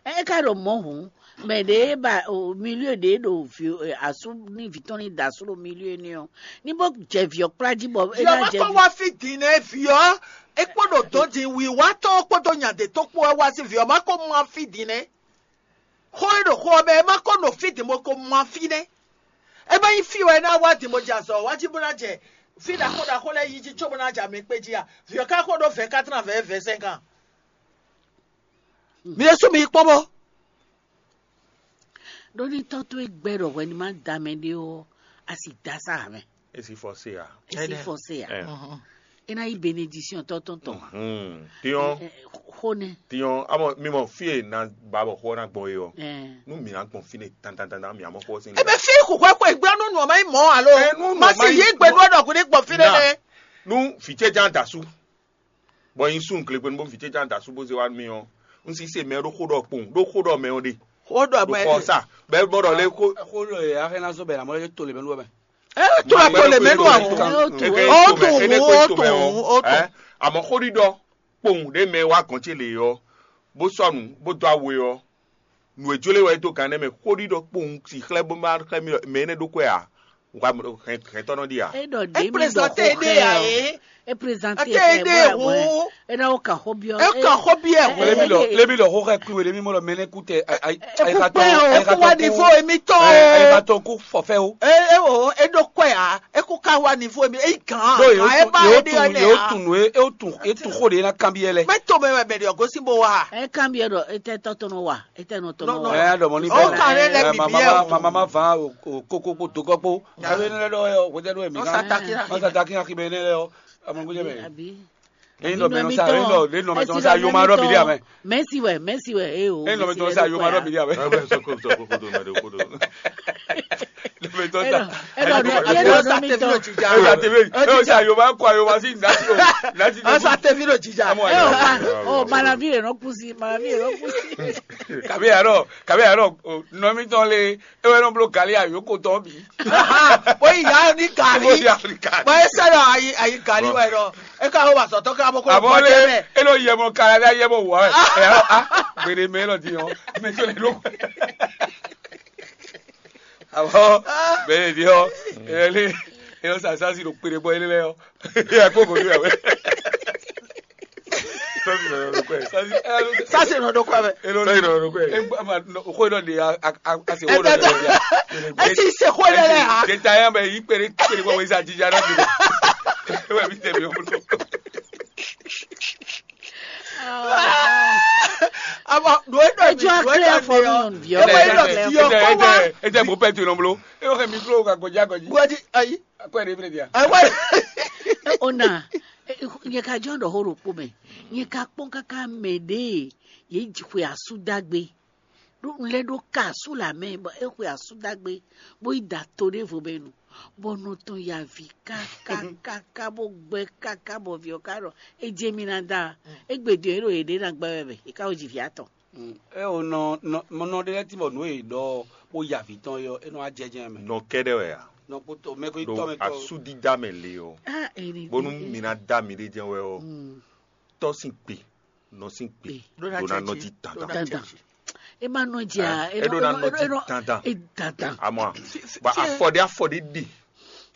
É ka ɖo mɔ̌ hǔn, mɛ ɖě ba o milieu ɖě ɖo vǐ asú ní vǐ tɔn ní da asú ɖo milieu ní ɔ́, ní bó jɛ vǐ ɔ́ kplá jí bɔ é Vǐ ɔ́ ná má jɛ kɔ wá fí din nɛ́ vǐ ɔ́, é kpó ɖo dɔ̌n din wǐwá tɔn ɔ́ kpódó nya ɖě tɔn kpó wɛ wá sí vǐ ɔ́ má kó má fí din nɛ́. Xó e ɖo xó ɔ́ mɛ é má kó nɔ fí din bó kó má fí nɛ́. É má nyí fí wɛ é ná wá din bó jɛ azɔ̌ wá jí bó ná jɛ fí ɖaxó ɖaxó lɛ́ɛ yí jí cóbó ná jɛ amɛ kpé jí a? Vǐ ɔ́ ka xó ɖó vɛ̌ katran vɛ̌ vɛ̌ sɛ́n kan. Mi ɖésú mi yi kpɔ́n bó. Ɖó ní tɔ́ towe gbɛ́ ɖɔ hwɛ ní má da mɛ ɖé ɔ́, a sì da sá ǎ mɛ. É sì fɔ se ǎ. É sì fɔ se ǎ. Ɛ. É ná yí benedisyɔn tɔ́ tɔn tɔn ǎ. Tiɲɔ Ɛ, ɛ, xó nɛ. Tiɲɔ amɔ mi mɔ fí e na ba bɔ xó ná gbɔn é ɔ́. Ɛ. Nú mi ná gbɔn fínɛ́ dandandandan mi amɔ xó sín. Ebe fí xɔxɔɛ kɔ ìgbéra nú nùɔ ma nyí mɔ alo Ɛ, nú nùɔ ma ma sì nyí yí gbe nú ɔ́ ɖɔ kú ní gbɔn fínɛ́ Na. Nɛ́. Nú vǐ ce ján da sú. Bɔ nyi sun glegbenu bó vǐ ce ján da sú bó zé wá nú mì ɔ́, un sí se mɛ ɖó xó ɖɔ kpowun ɖó xó ɖɔ mɛ ɔ́ ɖe. Xó ɖɔ Ɖo mɛ xɔ sa bɛ bɔ ɖɔ lé xó. Xó ɖɔ yɛ axɛ ná zɔ bɛ lamɔ lɛ to le mɛ lú mɛ. Ɛ to la to le mɛ nú àwọn. Ɛ, Ó to mɛ, tún, ɛ, ó ɛ, tún, mɛ, ó ɛ, tún. Àmọ́ xó ɖiɖɔ kpowun ɖé mɛ wá gɔn ce lě ɔ́, bó sɔnu bó dó awe ɔ́, nǔ e jló wɛ é dó gǎn nɛ́ mɛ xó ɖiɖɔ kpowun si xlɛ́ bó má xlɛ́ mì mɛ énɛ́ ɖó kwɛ ǎ. Wa hɛntɔ́nɔ ɖi a? É ɖɔ ɖé mi ɖɔ xó xɛ ɔ. É présenter Ate é ɖe ɖe wo. É ɖɔ ó kà xó biɔ. É kà xó biɛ ho. Lébi lɔ lébi lɔ xó xɛ kúwe lébi mɔ lɔ mɛnɛ kú tɛ. Eku pɛ o. Eku wa nivo emi tɔ o. Ayikatɔ kú fɔfɛ o. E e o e ɖo kɔɛ a eku ka wa nivo emi eyi gan. Ɖo ye o tun ye o tun ye o tun nue e o tun e tun xó de na kanbiɛ lɛ. Mɛ to mɛ wɛ mɛ de ɔgosi bo wa. É kanbiɛ ɖɔ é tɛ tɔtɔnɔ wa é tɛ nɔ tɔnɔ wa. Ɛ dɔmɔ ni O bɛ kan ne lɛ ɛ bibi mama ɛ o. Mama ma va o o koko kpo dogɔ kpo. Abe ne lɛ dɔ ɛ o wete do emi Ɔsa kan. Taki na. Ɔsa taki na kibe ne lɛ o. Amɔ gudze bɛ. Abi. Eyin dɔ mɛ nɔ sa eyin dɔ eyin dɔ mɛ tɔn sa yoma dɔ mi di amɛ. Mɛsi wɛ mɛsi wɛ e o. Eyin dɔ mɛ tɔn sa yoma dɔ mi di amɛ. Dɔ mɛ tɔn sa. Ɛ dɔ dɔ mi tɔn. Ɛ dɔ tebe eyin dɔ sa yoma kɔ yoma si nati o nati o. Ɔsa tevi ɖo jija. Amɔ Ɛ o ma o malavi yɛ nɔ kusi malavi yɛ nɔ kusi. Kabi arɔ kabi arɔ nɔmitɔn le. E wɛ nɔ blo gali ayoko tɔn bi. Bóyá ìyá ní gàrí. Bóyá ní gàrí. Bóyá sẹ́dọ̀ ayi ayi gàrí wẹ̀ lọ. E ka wọ́n wà sọ̀tọ́ ká bó kó Àmọ́ lé e ló yẹ mọ kára dá yẹ mọ wà ẹ̀ ẹ̀ ọ́ á gbèrè mẹ́ lọ di hàn mẹ́ tó lè ló. Àmọ́ bẹ́ẹ̀ ni ọ́ ẹ̀ lé ẹ̀ ọ́ sàṣàṣì ló péré bọ́ ẹ̀ lé lẹ́ ọ́ ẹ̀ kó kò ní ìyàwó. Sasi nɔ ɖo kɔ mɛ. Sasi nɔ ɖo kɔ mɛ. Sasi nɔ ɖo kɔ mɛ. Xo nɔ de a a a se xo nɔ de. Esi se xo lɛ lɛ ha. Deta ya mɛ yi kpere kpere bɔ weza jija na bi. Ewa bi tɛ mi o. Aba do e dɔ mi do e dɔ mi o. Ewa e dɔ ti o kɔ wa. Ete mo pɛ tu nɔ blo. Ewa kɛ mi blo ka gɔdzi agɔdzi. Gɔdzi ayi. Akwɛ de fle dia. Akwɛ. Ona. Nyɛ ka jɔn ɖɔ xó ɖokpó mɛ. Nyɛ ka kpɔ́n káká mɛ ɖě yě xwe asú dá gbé. Ɖó un lɛ́ ɖó ka asú lě amɛ bɔ é xwe asú dá gbé, bó yi da to ɖěvo mɛ nu, bɔ nɔ tɔn ya vǐ kákákáká bó gbɛ́ káká bɔ vǐ ɔ́ ka ɖɔ é jɛ mì ná da. Égbé din ɔ́, é ɖo yěɖée ná gbɛ́ wɛ mɛ, é ka ko ji vǐ atɔn. É o nɔ nɔ nɔ ɖé lɛ́ɛ tí bɔ nǔ e è ɖɔ ɔ́ bó ya vǐ tɔn é ɔ́, é nɔ wá jɛ jɛ́n mɛ. Nɔ kɛ́ɖɛ́ wɛ a? Nɔ kpótó mɛ ko nyí Ɖo tɔ́ mɛ tɔ́. Asúdídá mɛ le ɔ́, Ah, eri bónú mi ná dá miɖée jɛ́n wɛ ɔ́, tɔ́ sín gbe, nɔ sín gbe, Gbe. Ɖó ná ɖó ná jɛ nɔ jí jí. Dandan. Dandan. E ma nɔ dzi a, Ɛ, e ɖó nɔ ná e nɔ dzi e nɔ dandan. E dandan. Àmọ́ a, Fi- fi- bɔ fi- afɔɖe afɔɖe ɖe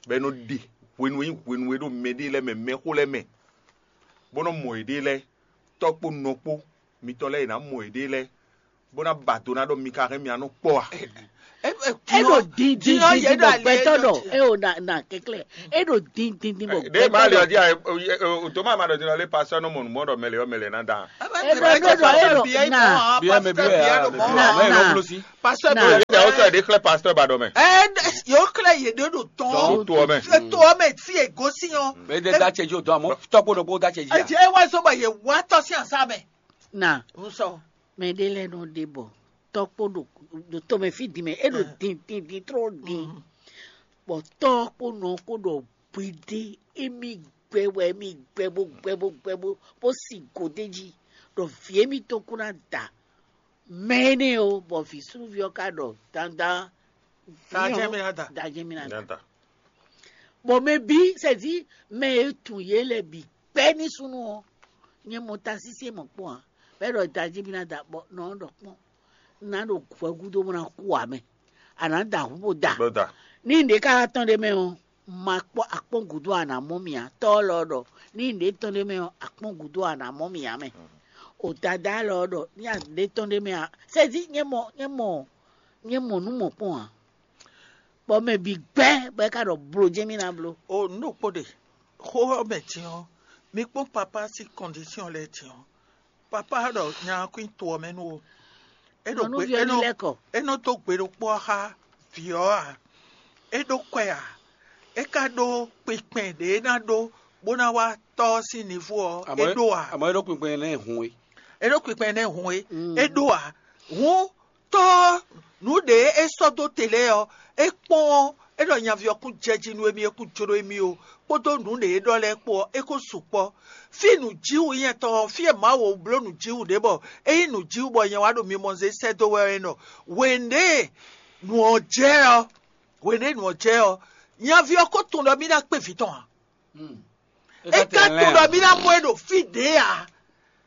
bɛ nɔ ɖe hwenu e hwenu e ɖo mɛ ɖe lɛ mɛ mɛxó lɛ mɛ, bó nɔ mɔ yěɖée lɛ, tɔ́ kpó nɔ kpó mitɔn lɛ yě ná mɔ yěɖée lɛ, bó ná ba do ná ɖɔ mi ka hɛn mi anɔ kpɔ a? É ɖo din din din din bɔ gbɛtɔ ɖɔ é o na na kɛklɛ é ɖo din din din bɔ Ɖé ma ali gbɛtɔ ɔdi a, o tó ma ma ɖɔ din lɔ lé pastor nɔ mɔ nǔ mɔ ɖɔ mɛlɛ ɔ mɛlɛ ná da. É ɖɔ é ɖɔ é ɖɔ na Biɛ mɛ biɛ a, na, mɛ na. Lɔ blo si. Pastor Na. Blo. Yɛ o sɔ ɖe xlɛ pastor ba ɖɔ mɛ. Ɛ yóò xlɛ yě ɖé ɖo tɔn. Tó tó ɔmɛ. Tó ɔmɛ tí è gosín ɔ. Mɛ ɖe da cɛ jí o dɔn amɔ tɔkpo ɖokpo da cɛ jí a. Ɛ jẹ́ wá sọ bɔ yẹ wá tɔ sí àṣà mɛ. Na N sọ. Mɛ ɖé lɛ́ɛ nɔ ɖe bɔ tɔ́ kpó ɖo ɖo tɔmɛ fí din mɛ é ɖo din din din tró din, bɔ tɔ́ kpó nɔ kpó ɖɔ hweɖé émí gbɛ wɛ émí gbɛ bó gbɛ bó gbɛ bó bó si gǒ d'é jí ɖɔ vǐ émítɔn kún ná da mɛ énɛ́ ó, bɔ vǐ súnnuví ɔ́ ka ɖɔ dandan vǐ Danjɛ ɔ́ mì ná da. Danjɛ mì ná da. Nyata. Bɔ mɛ bǐ sɛ́dí mɛ e tunwun yě lɛ́ɛ bǐ kpɛ́ ní súnnu ɔ́, nyɛ mɔ tansínsɛ́n mɔ̌ kpɔ́n ǎ. Bɔ é ɖɔ danjí mì ná da bɔ nɔ ɔ́ ɖɔ kpɔ́n, un ná ɖo hwɛ gúdo bó ná kú ǎ mɛ. A nǎ da hǔn bó da. Bó da. Ní un ɖě ka wá tɔ́n ɖé mɛ ɔ́, un ma kpɔ́ akpɔ́n gǔdo a nǎ mɔ mì ǎ. Tɔ́ ɔ́ lɔ ɖɔ ní un ɖě tɔ́n ɖé mɛ ɔ́, akpɔ́n gǔdo a nǎ mɔ mì ǎ mɛ. O dadá lɔ ɖɔ ní a ɖě tɔ́n ɖé mɛ ǎ. Sɛ́dí nyɛ mɔ nyɛ mɔ nyɛ mɔ nǔ mɔ̌kpɔn ǎ. Bɔ mɛ bǐ gbɛ́ bɔ é ka ɖɔ blo jɛ́n mì ná bló. O nǔ ɖokpó ɖe, xó ɔ́ mɛ din ɔ́, mi kpɔ́n papá sín kɔndisíɔn lɛ́ɛ din ɔ́, papá ɖɔ nya ɔ́ kún to ɔ́ mɛ nú ó. É ɖo gbe Nyɔ̌nuví ɔ́ é ní nɔ lɛ́ kɔ. É nɔ dó gbe ɖokpó ɔ́ xá vǐ ɔ́ ǎ. É ɖó kwɛ ǎ. É ka ɖó kpinkpɛn ɖě é ná ɖó bó ná wá tɔ́ ɔ́ sín nivo ɔ́, é ɖó ǎ. Àmọ́ é ɖó kpinkpɛn nɛ́ hun é. É ɖó kpinkpɛn nɛ́ hun é. Mm. É ɖó ǎ. Hǔn tɔ́ nǔ ɖě é sɔ́ dó te lɛ́ɛ ɔ́, é kpɔ́n ɔ́, é ɖɔ nyaví ɔ́ kún jɛ jí nú émí, é kún jló émí ó, kpódó nǔ ɖě é ɖɔ lɛ́ɛ kpó ɔ́, é kó sukpɔ́. Fí nǔjíwǔ nyɛ tɔn ɔ́, fí e Mawu bló nǔjíwǔ ɖě bɔ é nyí nǔjíwǔ bɔ nyɛ wá ɖo mi mɔ zé sɛ́ dó wɛ ɔ́ é nɔ. Hwěɖée nǔ ɔ́ jɛ ɔ́, hwěɖée nǔ ɔ́ jɛ ɔ́, nyaví ɔ́ ko tunwun ɖɔ mì ná kpé vǐ tɔn ǎ. É ka tunwun ɖɔ mì ná mɔ ɛ ɖo fí ɖě ǎ.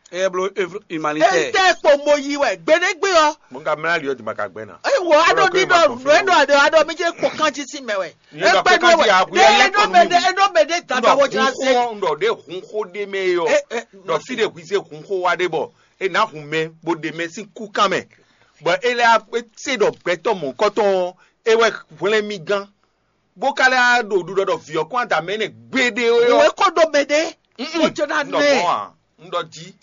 Eye bló humanitaire. Ete kpo mo yi wɛ gbeɖégbé ɔ́. Mo ka mlá ali ɔ́ di ma ka gbɛ́ ná. Eye wò aɖo ní ɖɔ nǔ e ɖɔ aɖe aɖɔ mi jẹ́ kpo kán jí sí mɛ wɛ. Ní ɖɔ Ekpe pé ní ká wɛ. Jí àgbo Ɖe yɛ lɛ́ eɖɔ kɔ mɛ nú ɖe mi. Eɖɔ mɛ ɖe Dada Dɔ wɔ jira hun se. Xó ɔ́, ɖɔ ɖe hun xó ɖe mɛ yɔ. Ɛ, ɛ, Dɔ fí ɖe hui se hun xó wa ɖe bɔ. E ná hun mɛ bo ɖe mɛ sín kú kán mɛ. Bɔ e lɛ́ se ɖɔ gbɛtɔ́ mɔ̌kɔtɔn ɔ́, e wɛ hwlɛ́n mì gán. Bó ka lɛ́ ɖo ɖuɖɔ ɖɔ vǐ ɔ́ kɔn adǎ mɛ nɛ gbeɖé ó Wò yɔ. É kó ɖo mɛ ɖé. Mm-mm. Ó jɛ ná Un ɖɔ nɛ. Mɔ̌ ǎ, un ɖɔ jí.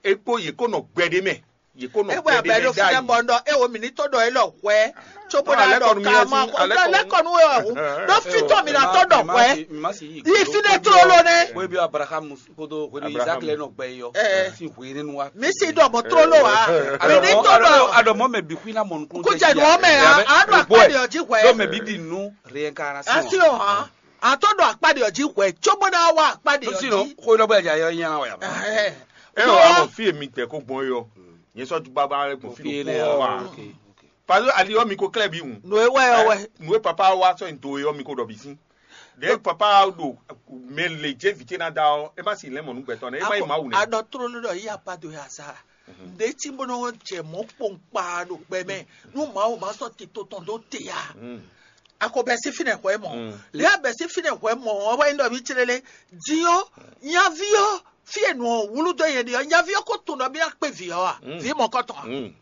É kpó yě kó nɔ gbɛɖé mɛ. Yě kó nɔ Ewɛ gbɛɖé abɛ mɛ ɖo fínɛ ɖ'ayǐ. Bɔ ŋɖɔ ewɔ mǐ ní tó ɖɔ élɔ́ hwɛ. Tso bó Ná ná lɛ́ ɖɔ kɔ nú mì ká ɔ́ ma sín, xo alɛ́ kɔ nú kɔ nú ewɔ hu. Ɖó fítɔ́ mǐ ná tó ɖɔ hwɛ. Yi fínɛ tlóló nɛ. Bóyá bí Abraham kódó hwenu Abraham. Isaac lɛ nɔ gbɛ yɔ. Ɛ. Sí hwenu wa. Mǐ sì ɖɔ mɔ̌ tlóló wa. Mǐ ní tó ɖɔ. Aɖɔ mɔ mɛ bi xwina mɔ nukun. Kó jɛ nù ɔmɛ a, a ɖo akpá ɖe ɔjí hwɛ. Ɖo mɛ bi di nu réincarnation. Asi o hàn. A tó ɖo akpá ɖe ɔjí hwɛ. Tso bó ná wá akpá ɖe Ló sì nɔ ɔjí. Xó lɔ bɛ ja yɔ nyana wa ya. Ɛhɛn. E o amɔ fi mi tɛ ko gbɔn yɔ. Nye sɔ ju baba gbɔn fi Fi do ne kpɔn wa. Ok, ok. Parce que ali yɔ mi ko klɛ bi ŋu. Nù ewɛ yɔ wɛ. Nù e papa wa sɔ yin do yɔ mi ko ɖɔ bi sin. De papa ɖo mɛ le jɛ vi ce na da ɔ, e ma si lɛ mɔ nu gbɛtɔ ne, e ma yi ma wu ne. Aɖɔ trolo ɖɔ yi apa do ya sa. Ɖe tí bó nɔ jɛ mɔ kpɔnkpa ɖo gbɛ mɛ. Nu Mawu ma sɔ tito tɔn ɖo te ya. Akɔ bɛ si finɛ hwɛ mɔ. Lɛ bɛ si finɛ hwɛ mɔ ɔ wɛ yin ɖɔ mi tsele le. Diɔ nyavi ɔ fie nɔ wulu dɔ yɛ ɖe ɔ nyavi ɔ ko tun ɖɔ mi na kpe vi ɔ a vi mɔ kɔtɔn a.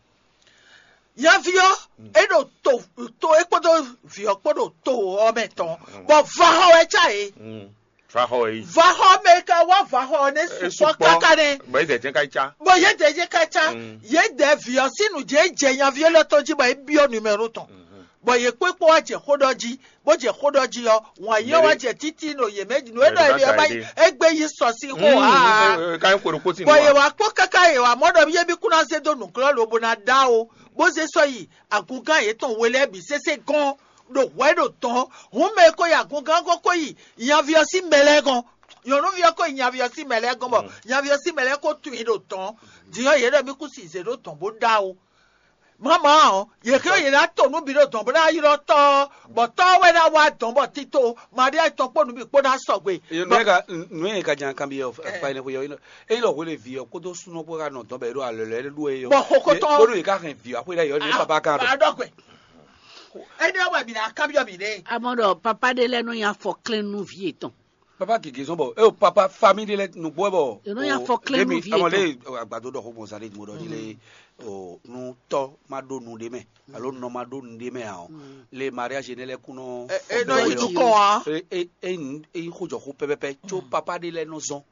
Nyavi ɔ e ɖo to to e kpódó vi ɔ kpó ɖo to ɔ mɛ tɔn bɔ va xɔ wɛ tsa ye. Fa xɔ yi. Va xɔ mɛ ka wá va xɔ ne E sukpɔ sukpɔ. Kaka ne. Bɔ yi dɛ jɛ ka yi tsa. Bɔ ye dɛ ye ka tsa. Ye dɛ vi ɔ si nu je jɛ nyavi lɔ tɔn ji bɔ e biɔ numéro tɔn. Bɔ ye kpó kpó wá jɛ xó ɖɔ ji bó jɛ xó ɖɔ ji ɔ wọn yɛ wá jɛ títí no ye mɛ nu e ɖɔ ye ma yi egbe yi sɔ si xó ha. Ka yi kpo ɖo kpó si bɔ ye wá kpó kaka ye wá mɔ ɖɔ ye bi kuna ze do nukplɔ lo bo na da o bó ze sɔ yi agungan yetɔn we lɛ bi sese gɔn ɖo hwɛ ɖo tɔn hun mɛ ko yi agungan ko ko yi nyavi ɔ si mɛ lɛ gɔn nyɔnuvi ɔ ko yi nyavi ɔ si mɛ lɛ gɔn bɔ nyavi ɔ si mɛ lɛ ko tun yi ɖo tɔn diɔ ye ɖɔ mi ku si ze ɖo tɔn bó da o. Mama ɔ, yě xyɔ yě ná to nú bǐ ɖo dɔn bó ná ylɔ́ tɔ́ ɔ́, bɔ tɔ́ ɔ́ wɛ ná wá dɔn bɔ tito Maria tɔn kpó nǔ bǐ kpó ná sɔgbe. Nǔ e ka nǔ e ka jan kanbyɔ́ ɔ, akpa énɛ́ xwé ɔ́, é ylɔ́ hwelé vǐ ɔ́ kpódó súnnu ɔ́ kpó ka nɔ dɔn bɔ é ɖo alɔ lɛ́ɛ ɖó é ɔ́. Bɔ xokó tɔn. Kpódó yě ká hɛn vǐ ɔ́ xwé ɖ'ayǐ ɔ́, ní baba kan ɖɔ. Adɔgbe. Énɛ́ wɛ mǐ ná kanbyɔ́ mǐ ɖe. Amɔ ɖɔ papa ɖé lɛ́ɛ nɔ nyi afɔ klɛ́n nú vǐ yětɔn. Papa gěgé zɔn bɔ eo papa famille ɖé lɛ nugbo wɛ bɔ È nɔ nyi afɔklɛ́nú vǐ yětɔn. Lé mi agbado ɖɔ xó gbɔn zan ɖé mo ɖɔ jí lé o nu tɔ ma ɖo nu ɖé mɛ alo nɔ ma ɖo nu ɖé mɛ ǎ ɔ, lé mariage ne lɛ kún nɔ e nɔ yi nukɔn a. E e e yi xó jɔ xó pɛpɛpɛ tso papa ɖé lɛ nɔ zɔn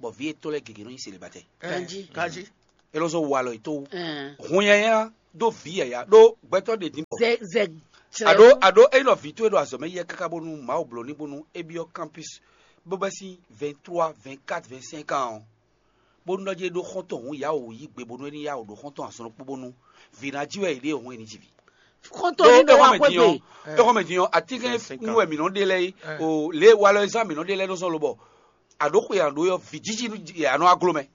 bɔ vǐ yětɔn lɛ gěgé nɔ nyi célibataire. Ganji. Ganji. E lɔ zɔn walɔ yi to. Hun yɛnyɛ ɖó vǐ yaya ɖó gbɛtɔ ɖe din bɔ Zɛ zɛ. Aɖo aɖo eyi nɔ vǐ towe ɖo azɔ̌ mɛ yɛ káká bónú Mawu bló ní bónú é byɔ́ campus bó bɛ́ sín vingt trois, vingt quatre, vingt cinq ans ɔ́, bónú nɔ jɛ ɖó xɔ́ntɔn hǔn yawǒ yí gbe bónú é ní yawǒ ɖó xɔ́ntɔn azɔn ɖokpó bónú vǐ ná jí wɛ è ɖe hǔn è ní ji vǐ. Xɔ́ntɔn ní ɖo wá xɔ́mɛ din ɔ́, é xɔ́mɛ din ɔ́, atínkɛn nú wɛ mǐ nɔ ɖe lɛ́ɛ é, o lě e walɔ e zán mǐ nɔ ɖe lɛ́ɛ nɔ zɔn lobɔ aɖǒ xwe aɖǒ yɔ vǐ jíjí nú ǎ nɔ wá gló mɛ.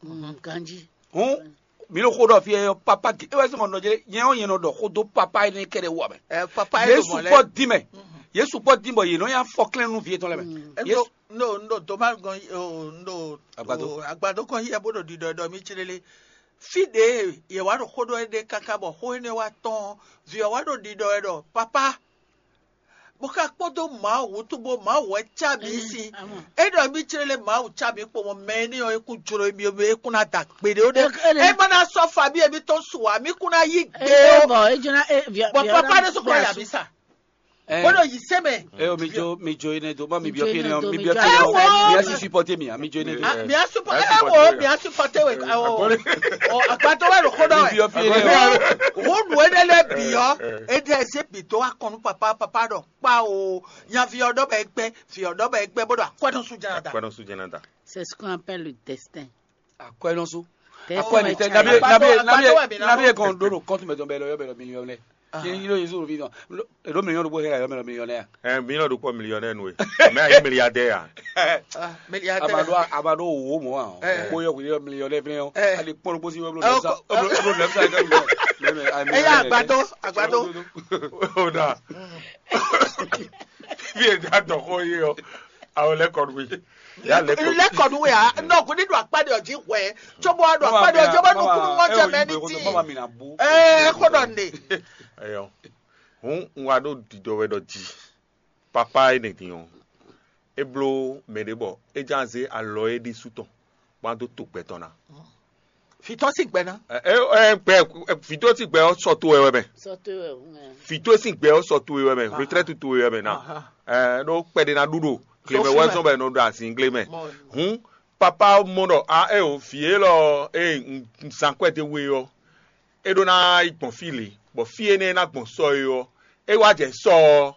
Ganjí. Hǔn mi ɖo xó ɖɔ fí ɛ papa gé é wɛ sɔmɔ nɔ jɛ nyɛ ɔ́ nyɛ nɔ ɖɔ xó dó papa énɛ́ kɛɖɛ wú amɛ. Ɛ papa é Yesu ɖo mɔ̌ lɛ́ɛ. Kpɔ dín mɛ. Yesu kpɔ dín bɔ yě nɔ nyi afɔklɛ́n nú vǐ yětɔn lɛ́ɛ mɛ. Ɛ, Yesu no no no doma gɔn o no Agbado. O agbado kɔn yɛ bó ɖo ɖiɖɔ ɖɔ mi tsi lele. Fí ɖě yě wá ɖo xó ɖɔ é ɖe káká bɔ xó énɛ́ wá tɔn vǐ ɔ́ wá ɖo ɖiɖɔ ɛ ɖɔ papa bó ká kpódó Mawu wútu bó Mawu wɛ cá mǐ sín. É ɖɔ mí clé lé Mawu cá mǐ kpo mɔ mɛ énɛ́ ɔ́ é kún jló mì é kún ná da gbeɖé ó ɖé. É má ná sɔ́ fabí émítɔn su ǎ, mí kún ná yí gbé ó. Bɔ papa ɖé sɔ́ kún ná yà mí sa. Bó ɖo yǐ sɛ́ mɛ. Eo mi jo mi jo ene do ma mi biɔ fi ne mi biɔ fi ne mi asi supporter mi mi jo ene do. Mi a supporter ɛ wo mi a supporter we ɛ wo. Agbadɔ wɛ loko dɔ wɛ. Mi biɔ fi ne. Wo nu ene lɛ bi yɔ. Ede ɛsɛ bi do akɔnu papa papa dɔ kpa o. Nya fi ɔdɔ bɛ gbɛ fi ɔdɔ bɛ gbɛ bó dɔ akwɛdɔ su jana da. Akwɛdɔ su jana da. C'est ce qu'on appelle le destin. Akwɛnɔsu. Akwɛ mi tɛ nabi nabi nabi nabi kan do no kɔntu mɛ dɔn bɛ lɔ yɔ bɛ lɔ miliyɔn lɛ. Kí yín ló yín sùn fi dɔn. Èló miliyɔn ɖokpó hɛ yɔ mɛ lɔ miliyɔn lɛ. Ɛ miliyɔn ɖokpó miliyɔn lɛ nu ye. Mɛ ayi miliyadɛ ya. Amado amado wo mɔ wa. Kpó yɔ kuli yɔ miliyɔn lɛ fɛnɛ yɔ. Ali kpɔn ɖokpó si yɔ blo nɛfsa. Blo nɛfsa yɛ kɛ. Ɛ yà agbadɔ agbadɔ. O da. Fi e da dɔn xɔ ye yɔ. Awɔ lɛ kɔ nu ye. Lɛ kɔ nu we a nɔ ko ne do akpa de ɔdzi hwɛ tso bɔ do akpa de ɔdzi bɔ nukunu mɔ jɛ mɛ ni ti. Ɛɛ ko dɔ ne. Eyɔ hun un wa ɖo didɔ wɛ dɔ ji papa yi ne din o e blo mɛ ɖe bɔ e jan ze alɔ e ɖi su tɔn bɔ a do to gbɛ tɔn na. Fitɔ si gbɛ na. Ɛ ɛ gbɛ fitɔ si gbɛ ɔ sɔ to wɛ wɛ mɛ. Sɔ to wɛ ŋɛ. Fitɔ si gbɛ ɔ sɔ to wɛ mɛ retraite to wɛ mɛ na. Ɛ ɖo kpɛɖe na ɖu ɖo glemɛ wɛ zɔn bɛ nɔ ɖo azin glemɛ. Hun papa mɔ ɖɔ a e o vǐ élɔ́ e un zán kwɛ́ dó we ɔ́, é ɖó ná yi gbɔn fí lě, bɔ fí énɛ́ e ná gbɔn sɔ é ɔ́, é wá jɛ sɔ ɔ́,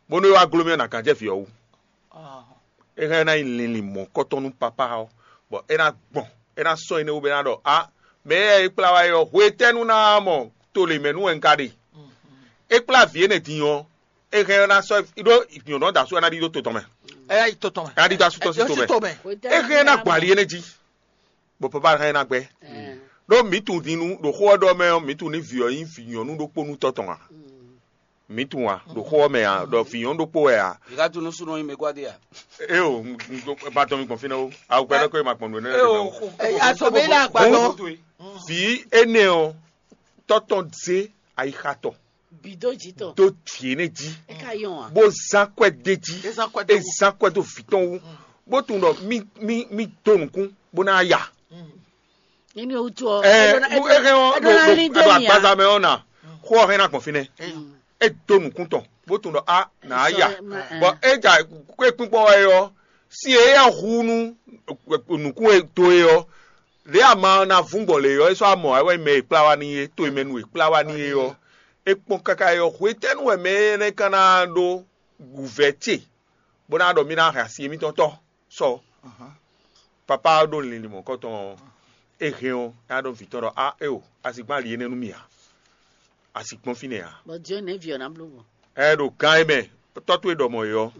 bónú é wá gló mì ɔ́, nǎ gán jɛ vǐ ɔ́ wú. É hɛn ná nyí linlin mɔ̌kɔtɔn nú papá ɔ́, bɔ é ná gbɔn, é ná sɔ́ énɛ́ wú bɔ é ná ɖɔ: "A, mɛ e é kplá wá é ɔ́, hwetɛ́nu ná mɔ to lě mɛ nú wɛ un ka ɖe?" É kplá vǐ énɛ́ din ɔ́, é hɛn ná sɔ́ ɖó nyɔ̌nu ɔ́ da asú ɔ́ ná ɖidó to tɔn mɛ. Ɛ yá yi to tɔn mɛ. Ná ɖidó asú tɔn sín to mɛ. É hɛn ná gbɔn ali énɛ́ jí, bɔ papa hɛn ná gbɛ. Ɖó mǐ tunwun din nú ɖo xó ɔ́ ɖɔ mɛ ɔ́, mǐ tunwun ní vǐ ɔ́ nyí vǐ nyɔ̌nu ɖokpó nú tɔ́ tɔn ǎ. Mǐ tunwun a ɖo xó ɔ́ mɛ ǎ, ɖɔ vǐ nyɔ̌nu ɖokpó wɛ ǎ. Ìka tunu súnú nyi mɛ gbadé a? É o, ba tɔn mi gbɔn fínɛ́ o. Awu gbɛdɔ kó ma gbɔn nǔ énɛ́ lɛ́ɛ. Asɔmɛ ilé agbadɔ. Vǐ énɛ́ ɔ́, tɔ́ tɔn zé ayixa tɔn. Bidó jǐ tɔn. Dó vǐ énɛ́ jí. É ka yɔn a? Bó zán kwɛ́ dé jí. É zán kwɛ́ dó wú. É zán kwɛ́ dó vǐ tɔn wú. Bó tunwun ɖɔ mí mí mí dó nǔkún bó ná ya. Nínú ewu tó ɔ. Ɛ é hɛn ɔ́ ɖo ɖo agbaza mɛ ɔ́ na xó ɔ́ hɛn ná gbɔn fínɛ́. É dó nǔkún tɔn bó tunwun ɖɔ a nà á ya. Bɔ é ja kó é kpínkpɔ́n wɛ ɔ́, sín e é hu nú nǔkún e dó é ɔ́, lě ama ɔ́ ná vún gbɔn lě ɔ́, é sɔ́ amɔ wɛ mɛ e kplá wá n'i é, to e mɛ nu e kplá wá n'i é ɔ́, é kpɔ́n káká é ɔ́, hwetɛ́nu wɛ mɛ énɛ́ ka ná ɖó wǔvɛ́ ce, bó ná ɖɔ mì ná hɛn asi émítɔn tɔ́ sɔ. Papá ɔ́ ɖo linlin mɔ̌kɔtɔn ɔ́, é hɛn ɔ́, é ná ɖɔ vǐ tɔn ɖɔ: "A éo, a sixú ali énɛ́ nú mì ǎ, a sixú gbɔn fínɛ́ ǎ." Bɔ Dieu nɛ̌ vi ɔ́ ná bló gbɔn? Ɛ ɖo gán é mɛ, tɔ́ towe ɖɔ mɔ̌ é ɔ́,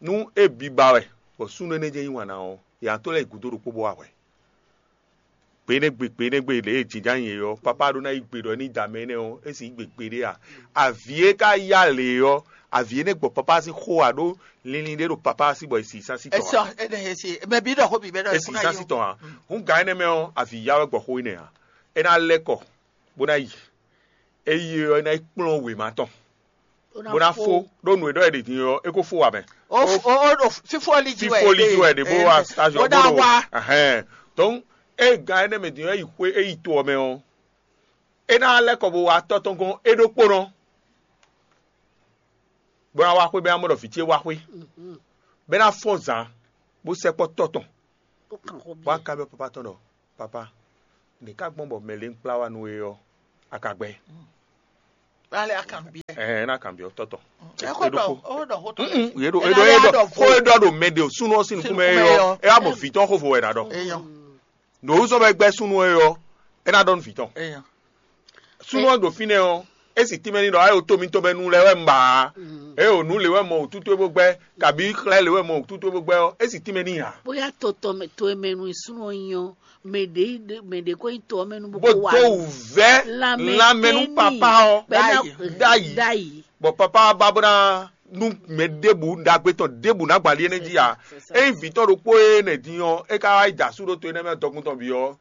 nú é biba wɛ, bɔ súnnu énɛ́ jɛ́n yí wǎn ná ɔ́, yě ná tó lɛ́ yi gǔdo ɖokpó bó wá hwɛ. Gbe énɛ́ gbe gbe énɛ́ gbe lě e jǐnján nyi é ɔ́, papá ɖó ná yí gbe ɖɔ é ní da mɛ énɛ́ ɔ́, é sixú gbe gbeɖé a? Avǐ e ka yá lě ɔ́, avǐ énɛ́ gbɔ papá sín xó a ɖó linlin ɖé ɖo papá sí bɔ è si sán sí tɔn ǎ. Ɛsɛ ɛnɛ esi mɛ bi ɖɔ xó bi bɛ ɖɔ È si sán sí tɔn ǎ. Hǔn gǎn énɛ́ mɛ ɔ́, avǐ yá wɛ gbɔ xó énɛ́ ǎ. É ná lɛ́ kɔ bó ná yi. É yi ɔ́, é ná yi kplɔ́n wěma tɔn. bó ná fó ɖó nǔ e ɖɔ è ɖe din ɔ́, é ko fó wǎ mɛ. O o o ɖo fífó li jí wɛ. Fífó li jí wɛ ɖě bó wá stage ɔ́ bó ɖo wá. Ahɛn. Donc é gán énɛ́ mɛ din ɔ́, é yi xwé, é yi to ɔ́ mɛ ɔ́, é ná lɛ́ kɔ bó wá tɔ́ tɔn gɔ́n é ɖokpónɔ, bó ná wá xwé, bó ná mɔ ɖɔ vǐ ce wá xwé, bó ná fɔ́n zǎn, bó sɛkpɔ́ tɔ́ tɔn, bó wá kanbyɔ́ papa tɔn ɖɔ: "Papa, nɛ̌ ka gbɔn bɔ mɛ lě un kplá wá nú we ɔ́, a ka gbɛ́?" Ale akanbyɔ́. Ɛɛ, ná kanbyɔ́ tɔ́ tɔn. Ɛ xó ɖɔ ó ɖɔ xó tɔn. Mm, yě ɖo é ɖɔ é ɖɔ xó é ɖɔ ɖo mɛ ɖe o súnú ɔ́ sín nukún mɛ é ɔ́, é wá mɔ vǐ tɔn xó vo wɛ ná ɖɔ. Eyɔn. Ɖo wú zɔ́n bɔ é gbɛ́ súnnu é ɔ́, é ná ɖɔ nú vǐ tɔn. Eyɔn. Súnnu ɔ́ ɖo fínɛ́ ɔ́, é sì tínmɛ ní ɖɔ é ɖo tó mitɔn mɛ nu lɛ́ɛ wɛ un ba ǎ. É ɖo nǔ lě wɛ mɔ wǔtútú é bó gbɛ́, kabǐ xlɛ́ lě wɛ mɔ wǔtútú é bó gbɛ́ ɔ́, é sì tínmɛ ní ǎ. Bóyá to tɔn mɛ to e mɛ nu súnnu ɔ́ nyí ɔ́, mɛ ɖě mɛ ɖě ko nyí to ɔ́ mɛ nu bó Bó ko wá dó wǔvɛ́ lanmɛ nú papa ɔ́ bɛ́ ná ɖ'ayǐ. Ɖ'ayǐ. Bɔ papa ɔ́ ba bó ná nú mɛ ɖěbǔ ɖagbe tɔn ɖěbǔ ná gbǎn ɖíe nɛ́ jí ǎ. Ényí vǐ tɔn ɖokpó e nɛ́ din ɔ́, é ka wá yi da asú ɖó to énɛ́ mɛ dɔkun tɔn bǐ ɔ́,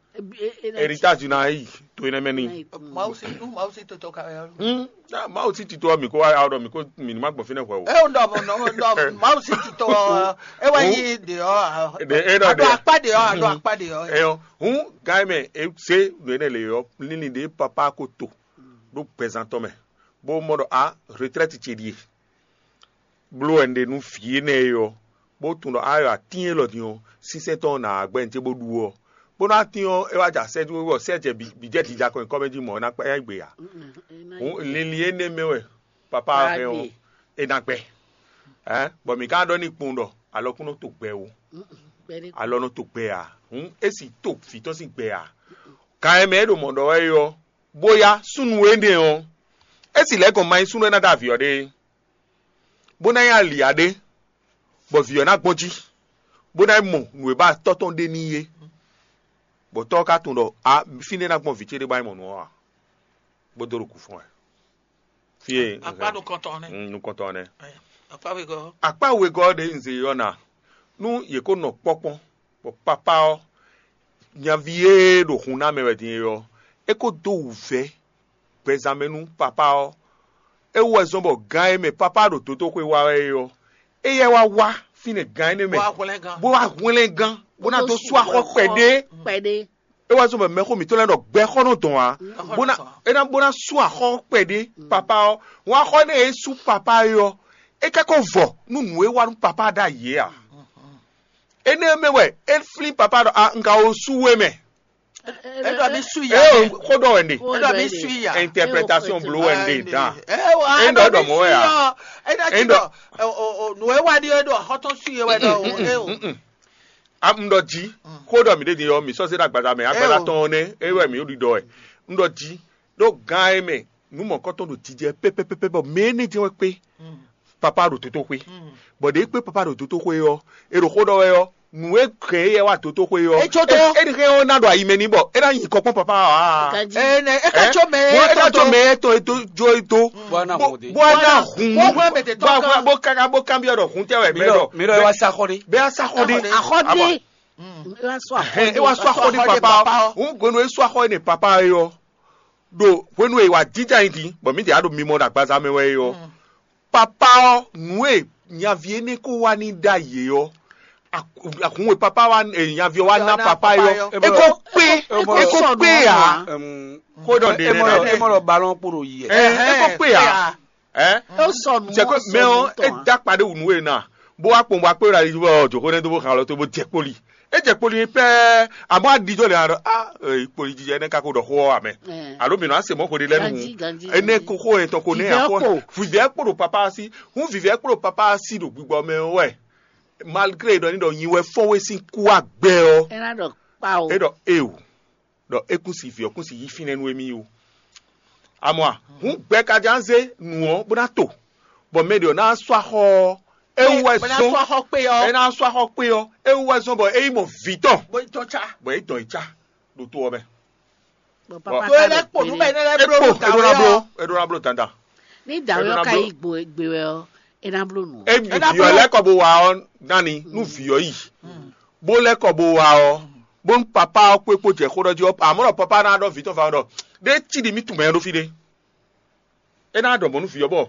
héritage ná yi to énɛ́ mɛ n'i. Mawu sí nú Mawu sí totɔ ka wɛ ɔ́. Hmm, ah, Mawu sí tito ɔ́, mǐ kó wá ɖɔ mǐ kó mǐ ní má gbɔn fínɛ́ hwɛ̌ o. É ŋ ɖɔ mɔ nɔ ɖɔ Mawu sí titɔ ɔ́, é wɛ nyí ɖě ɔ́. Ɖě é ɖɔ Aɖo ɖě. Akpá ɖě ɔ́, aɖo akpá ɖě ɔ́. Eyɔn, hǔn gán e mɛ è zé nǔ énɛ́ lě ɔ́, linlin ɖě papa ko to ɖó gbɛzán tɔn mɛ, bó mɔ ɖɔ a retrɛ́ti ce ɖíe. Bló wɛ un ɖe nú vǐ énɛ́ e ɔ́, bó tunwun ɖɔ a yɔ atín élɔ́ din ɔ́, sínsɛ́n tɔn ɔ́ nǎ wá gbɛ́ nǔ ce bó ɖu ɔ́. Bó ná tín ɔ́, é wá jɛ asɛ́ jí wɛ, sɛ́ jɛ bǐ jɛ dǐjakɔ nyǐkɔ mɛ jí mɔ̌ é ná kpá yá gbe ǎ. Hǔn linlin énɛ́ mɛ wɛ papa ɔ́ hɛn ɔ́, é ná gbɛ. Bɔ mǐ ka ɖɔ n'i kpowun ɖɔ alɔkún nɔ to gbɛ o, alɔ nɔ to gbɛ ǎ. Hǔn é sì to vǐ tɔn sín gbɛ ǎ. Kan e mɛ é ɖo mɔ̌ ɖɔ wɛ é ɔ́, bó yá súnnu énɛ́ ɔ́, é sì lɛ́ gɔn ma nyí súnnu e ná dó avǐ ɔ́ ɖe é, bó ná nyí ali ǎ ɖé, bɔ vǐ ɔ́ ná gbɔn jí, bó ná yi mɔ nǔ e ba tɔ́ tɔn ɖe n'i é, bɔ tɔ́ ɔ́ ka tunwun ɖɔ a fínɛ́ ná gbɔn vǐ ce ɖé bá yi mɔ nǔ ɔ́ ǎ, bó dó ɖo kǔ fɔ́n wɛ. Fí e Akpá nukɔntɔn nɛ́. Mm, nukɔntɔn nɛ́. Akpá wegɔ́. Akpá wegɔ́ ɖě un ze ɔ́ ná, nú yě ko nɔ kpɔ́kpɔ́n, bɔ papá ɔ́, nyaví e ɖo hun ná mɛ wɛ din é ɔ́, é ko dó wǔvɛ́ gbɛzán mɛ nú papá ɔ́. É wú wɛ zɔ́n bɔ gán e mɛ papá ɖo dotóxwé wa wɛ é ɔ́, éyɛ́ wá wá fínɛ́ gán énɛ́ mɛ, Bó wá hwlɛ́n gán. Bó wá hwlɛ́n gán, bó ná dó sú axɔ́ kpɛɖé. Kpɛɖé. É wá zɔ́n bɔ mɛxó mǐtɔn lɛ́ɛ ɖɔ gbɛxɔ́ nɔ dɔn ǎ, Gbɛxɔ́ bó ná nɔ dɔn ǎ. É ná bó ná sú axɔ́ kpɛɖé papá ɔ́. Wǎn axɔ́ énɛ́ e sú papá é ɔ́, é ka ko vɔ nú nǔ e wá nú papá ɖ'ayǐ é ǎ. Énɛ́ mɛ wɛ é flín papá ɖɔ a un ka wo sú we mɛ. É ɖɔ mi sú ya. É o xó ɖɔ wɛ ɖe. Xó É ɖɔ mi ɖɔ sú ya. Interpretation bló wɛ ɖe dan. É wɔ É ɖɔ ɖɔ mɔ̌ wɛ a? É ɖɔ É ɖɔ- ɖɔ nǔ e wá ɖi é ɖɔ xɔtɔn sú ye wɛ ɖɔ o. É o. Mm-mm. A un ɖɔ jí, xó ɖɔ mǐ ɖe din ɔ́, mǐ sɔ́ zé ɖo agbaza mɛ, agbaza tɔn ɔ́ nɛ́, é wɛ mǐ ɖo ɖiɖɔ wɛ. Un ɖɔ jí, ɖó gán e mɛ nǔ mɔ̌kɔtɔn ɖo jijɛ pɛ́pɛ́pɛ́pɛ́ bɔ mɛ énɛ́ jɛ́n wɛ kpé papá ɖo dotóxwé. Bɔ ɖě kpé papá ɖo dotóxwé ɔ́, è ɖo xó ɖɔ wɛ ɔ́, nǔ e hɛn éyɛ́ wá dotóxwé ɔ́, É jó dó. É hɛn ɔ́ ná ɖo ayi mɛ n'i bɔ é ná nyi kɔ kpɔ́n papá ɔ́. Ganjí. Ene é ká Ɛ? Jó mɛ Bó é ká jó mɛ é tɔn é dó jó é dó. Bó ná Bó- hun dé. Bó ná hun. Bó hwlɛ́n mɛ tɛ tɔn Bó kan. Bó káká bó kanbyɔ́ ɖɔ hun tɛ wɛ Mi bɛ ɖɔ ɖɔ. Mi ɖɔ é wá sá xɔ ɖé. Bɛ wá sá xɔ ɖé. Axɔ́dé. Axɔ́dé. É wá sɔ Axɔ́dé. Axɔ́dé É wá sɔ axɔ́dé Axɔ́dé papa. Papa. Òun gbónú é sɔ axɔ́dé papa é ɔ́. Ɖo hwenu e wà jíjà nyi din, bɔ mǐ ɖě á ɖo mimɔ ɖo agbaza mɛ wɛ é ɔ́. Papa ɔ́, nǔ e nyaví énɛ́ kó wá ní ɖ'ayǐ é ɔ́, ak- akun e papa wá e nyaví ɔ́ wá ná papa é ɔ́, é kó kpé, é kó kpé ǎ. Xó ɖɔ ɖe Emɔ nɛ́ ɖɔ ɖɔ. Emɔ ɖɔ balɔn kpo ɖo yi ɛ. Ɛ, é kó kpé ǎ. Ɛ? É sɔ nǔ C'est que mɛ ɔ́, é da kpa ɖé wǔ nú we ná. Bó wá kpɔn bó wá kpé ɖo ali jí bɔ jǒxó nɛ́ dó bó xan lɔ tó bó jɛ kpoli. É jɛ kpoli pɛ́ɛ, àmọ́ a ɖijɔ lɛ a ɖɔ a kpoli jijɛ nɛ́ ka ko ɖɔ xó ɔ́ amɛ. Alo mǐ nɔ asě mɔ̌ xo ɖé lɛ́ nu. Ganjí, ganjí, Enɛ ganjí. Ko xó yɛn tɔn ko nɛ Vivɛ akɔ kpo. Vivɛ kpo ɖo papa si. Hun vivɛ kpo ɖo papa si ɖo gbigbɔ mɛ wɛ. Malgré ɖɔ ní ɖɔ nyi wɛ fɔ́n we sín kú agbɛ ɔ́. É ná ɖɔ kpa o. É ɖɔ eo. Ɖɔ é kún si vǐ ɔ́ kún si yí fínɛ́ nú émí ó. Amɔ̌ a, hǔn gbɛ ka ján zé nǔ ɔ́ bó ná to, bɔ mɛ ɖě ɔ́ ná sú axɔ ɔ́, é wú wɛ Bó ná zɔ́n sú axɔ kpé ɔ́. É ná sú axɔ kpé ɔ́, é wú wɛ zɔ́n bɔ é yi mɔ vǐ tɔn, Bó yi tɔn cá. Bɔ é tɔn yi cá ɖo to ɔ́ mɛ. Bɔ Bɔ- papa Tó é ka lɛ́ ɖo kpo nú gbére. Bɛ́ é lɛ́ É bló kpo, nú é ɖó ná bló, dǎwe ɔ́. É ɖó ná bló dandan. Ní dǎwe É ná ɔ́ ka bló. Yi gbe gbe wɛ ɔ́, é ná bló nǔ. É ná vǐ ɔ́ bló. Lɛ́ kɔ bó wa ɔ́ nání nú vǐ ɔ́ yi. Bó lɛ́ kɔ bó wa ɔ́, bónú papá ɔ́ kpé kpó jɛ xó ɖɔ jí ɔ́, amɔ̌ ɖɔ papá ná ɖɔ vǐ tɔn fa ɖɔ ɖé cí ɖi mì tunwun mɛ ɖó fí ɖé. É ná ɖɔ mɔ̌ nú vǐ ɔ́ bɔ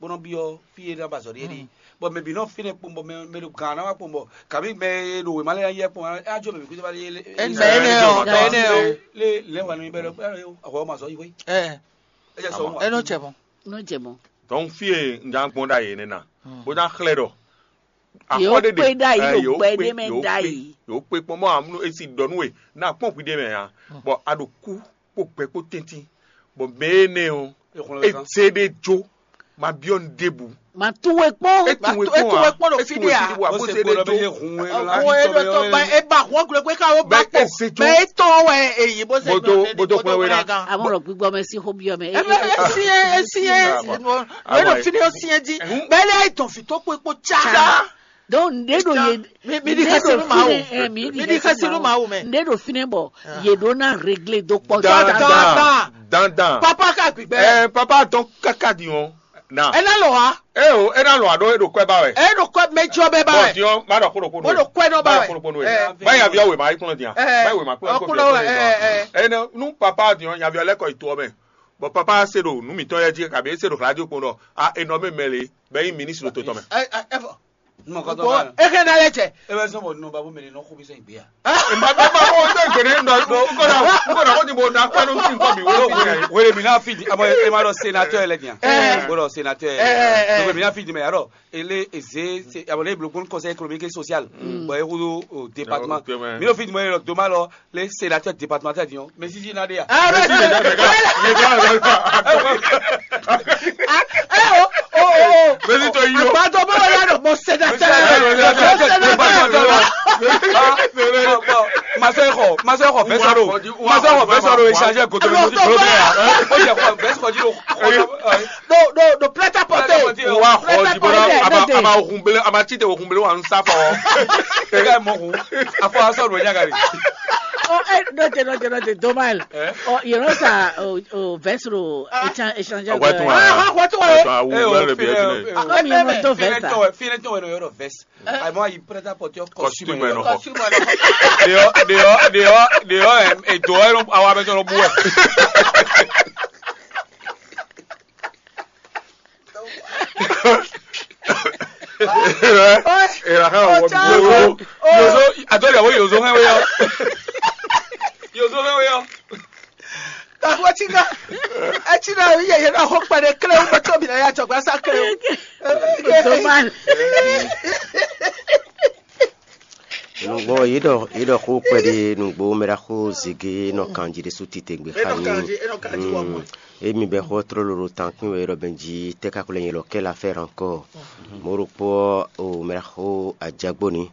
bó nɔ byɔ́ fí e ná ba azɔ̌ ɖe é ɖe. Bɔ mɛ bǐ nɔ fínɛ́ kpɔ́n bɔ mɛ mɛ ɖo gǎn ná wá kpɔ́n bɔ kabí mɛ e ɖo wěma lɛ́ɛ yí kpɔ́n á jɔ mɛ bǐ kútu wá lé lé Ɛnɛ, ɛnɛ ɔ́, ɛnɛ ɔ́. Lé lɛ́ wà nú mi bɛ ɖɔ ahwɛ ɔ́ ma zɔ yi hwé. Ɛ, É jɛ sɔ wá. Ɛ nɔ cɛ mɔ. Nɔ jɛ mɔ. Donc fí e un já gbɔn ɖa yě nɛ́ ná, bó ná xlɛ́ ɖɔ Yǒ akɔ́ ɖé kpé ɖé ɖ'ayǐ ɛ, ɖo yǒ gbɛ kpé, ɖé mɛ yǒ kpé, ɖ'ayǐ. Yǒ kpé kpɔ́n mɔ amúnú e si ɖɔ nú we ná kpɔ́n hwi ɖé mɛ ǎ, bɔ a ɖo kú kpó gbɛ kpó tɛ́ntin, bɔ mɛ énɛ́ ɔ́, é xlɔ́ é ɛ zé ɖé jó, ma byɔ́ nu ɖěbǔ. Ma tunwe kpɔ́n. É tunwe kpɔ́n ǎ. É tunwe kpɔ́n ɖo fí ɖé ǎ. Bó se gbɔdɔ bɛ yé hun e lɔ la. Ó é ɖɔ tɔ ba é ba hun ɔ́ gblɛgbɛ ká ó ba kpɔ́n. Mɛ é tɔn wɛ é yi bó se gbɔdɔ bɛ ní kó tó kpɔ́n wé ná. Amɔ̀rọ̀ gbígbọ́ mɛ sí xó byɔ́ mɛ. Ɛ bɛ é sí é é sí é. Wé ɖo fí ní ó sí é jí. Bɛ́ lé ayé tɔn fí tó kpó kpó cá. Donc nɖé ɖo yé mi mi di xɛsi nú Mawu. Mi di xɛsi nú Mawu mɛ. Nɖé ɖo fínɛ́ bɔ yě ɖó ná réglé dó kpɔ́. Dandan dandan. Papa ka gbigbɛ. Ɛ papa tɔn kaka di wɔn. Na. Ena lɔ wa. E o ena lɔ aɖo e ɖo kɔɛ ba wɛ. E ɖo kɔɛ mɛ jɔ bɛ ba wɛ. Bɔn diɔ ma ɖɔ kolo kolo. Mo ɖo kɔɛ nɔ ba wɛ. Kolo kolo wɛ. Ba ya bi awe ma yi kplɔn diya. Ba yi we ma kplɔn kolo kolo. Ene nu papa diɔ nya bi lɛ kɔ yi to mɛ. Bɔn papa se ɖo nu mitɔn yɛ ji kabi e se ɖo radio kpɔn ɖɔ a enɔ mi mɛ le bɛ yi ministre to tɔn mɛ. Ɛ ɛ fɔ. Mɔ kɔtɔ Gbɔ ba. Eke na lɛ cɛ. E bɛ sɔn bɔ nɔ ba bo mɛ ni nɔ xo bi sɛn gbe ya. Mba bɛ ma ko to gbe ne nɔ ko na ko na ko ti bo na ko no ti ko bi wo ti ne. Wele mi na fi di abo e ma dɔ sénateur lɛ diyan. Bo dɔ sénateur. Donc mi na fi di mɛ ya dɔ ele eze abo le blo bon conseil économique et social. Bon e ko do département. Mi no fi di mɛ dɔ doma lɔ le sénateur départemental diyan. Mais si si na de ya. Ah mais c'est. Mesi to yi o. Agbadɔ bɛ wɛ ya dɔ mo sénateur. Masɛ xɔ masɛ xɔ fɛsɛ do masɛ xɔ fɛsɛ do échange goto lɛ mɔti kolo bɛ ya o jɛ xɔ fɛsɛ xɔ ji do. Do do do prêt à porter. Wa xɔ ji bɔ a ma a ma hun bele a ma ti de hun bele wa n sa fɔ. Tɛgɛ mɔ hun afɔ asɔ do nya gari. Oh eh note note note dommage. Oh you know ça. Veste ro échange de. Akwatu wa. Akwatu wa. Awu wɛrɛ de bi ɛtulɛ. Comme il y a un veste. Fine tɔn wɛ no yɔrɔ veste. Ayi mɔ ayi prêt à porter costume yɛ nɔ. Deɔ deɔ deɔ deɔ edo yɛ awa bɛ tɔn bu wɛ. Era ha wɔ bi. Yozo atɔ yàwó yozo hɛn wɛ yɔ. Yozo hɛn wɛ yɔ. Taxɔ tsi ná etsi ná yɛ yɛ ná xɔ kpɛɖe kléwu bɛ tɔbi ná yà tsɔgba sá kléwu. Dommage. Nǔgbó yě ɖɔ yě ɖɔ xó kpɛɖé nǔgbó mɛ ɖaxó zege nɔ kanjí ɖé sú titewungbe xa ní. Emi bɛ xó tró lolo tankpin wɛ ɖɔ bɛn jí tɛ́ ka xwlɛ nyɛ lɔ kɛ la fɛ rankɔ. Mɔ̌ ɖokpó o mɛ ɖaxó ajagbó ni.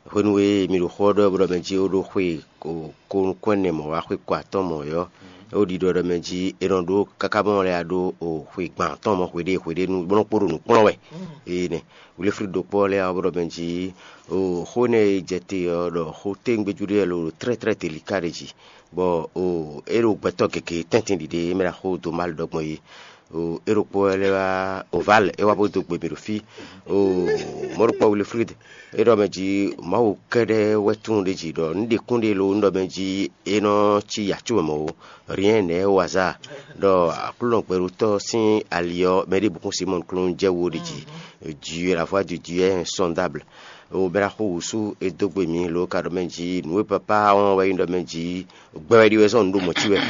Hwenu e mi ɖo xó ɔ́ ɖɔ bɔ mɛ jí ó ɖó xwe ko nukún ɛnɛ mɔ̌ wá xwe ko atɔ́ɔ́n mɔ̌ ɔ́, é wǒ ɖiɖɔ ɖɔ mɛ jí è nɔ ɖó káká bɔ lɛ́ wá ɖó xwe gban atɔ́ɔ́n mɔ̌ hweɖée hweɖée nú bó nɔ́ kpo ɖo nǔ kplɔ́n wɛ. Énɛ́ Wilfrid ɖokpó ɔ́ lɛ́ wá bɔ ɖɔ mɛ jí xó énɛ́ e jɛ te ɔ́ ɖɔ xó téwúngbéjú ɖé wɛ lo ɖo tlɛ́tlɛ́ te liká ɖé jí, bɔ é ɖo gbɛtɔ́ gěgé tɛ́ntin ɖiɖe é mɛ ɖo axó dó má lɛ ɖɔ gbɔn é. É ɖokpó wɛ lɛ́ wá Oval é wá bó dó gbe mì ɖo fí. Mɔ̌ ɖokpó Wilfrid é ɖɔ mɛ jí Mawu kɛ́ɖɛ́ wɛ tunwun ɖé jí ɖɔ un ɖe kún ɖé lo un ɖɔ mɛ jí é nɔ cí yǎ có mɛ mɔ̌ ó. Rien n'est au hasard. Ɖɔ Aklúnɔ gbɛɖótɔ́ sín ali ɔ́, mɛ ɖěbǔ kún Simɔ́ɔ klún jɛ wú ɖi jí. Dieu, la voix de Dieu est insondable. O bɛ́ ná xo wǔsú é dó gbe mǐ lo ka ɖɔ mɛ jí nǔ e papá wɔn wɛ nyí ɖɔ mɛ jí gbɛ wɛ ɖi wɛ zɔ́n nǔ ɖo mɔ̌ cí wɛ.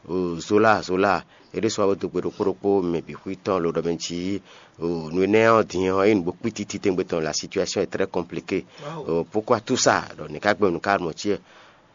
O Zola Zola é ɖésú wá bó dó gbe ɖokpó ɖokpó mɛ bǐ xwí tɔn lo ɖɔ mɛ jí o nǔ énɛ́ ɔ́ din ɔ́ é nǔgbó kpítí titewungbe tɔn la situation est très compliquée. O pourquoi tout ça ɖɔ nǐ ká gbɛ́ nǔ ká mɔ̌ cí wɛ.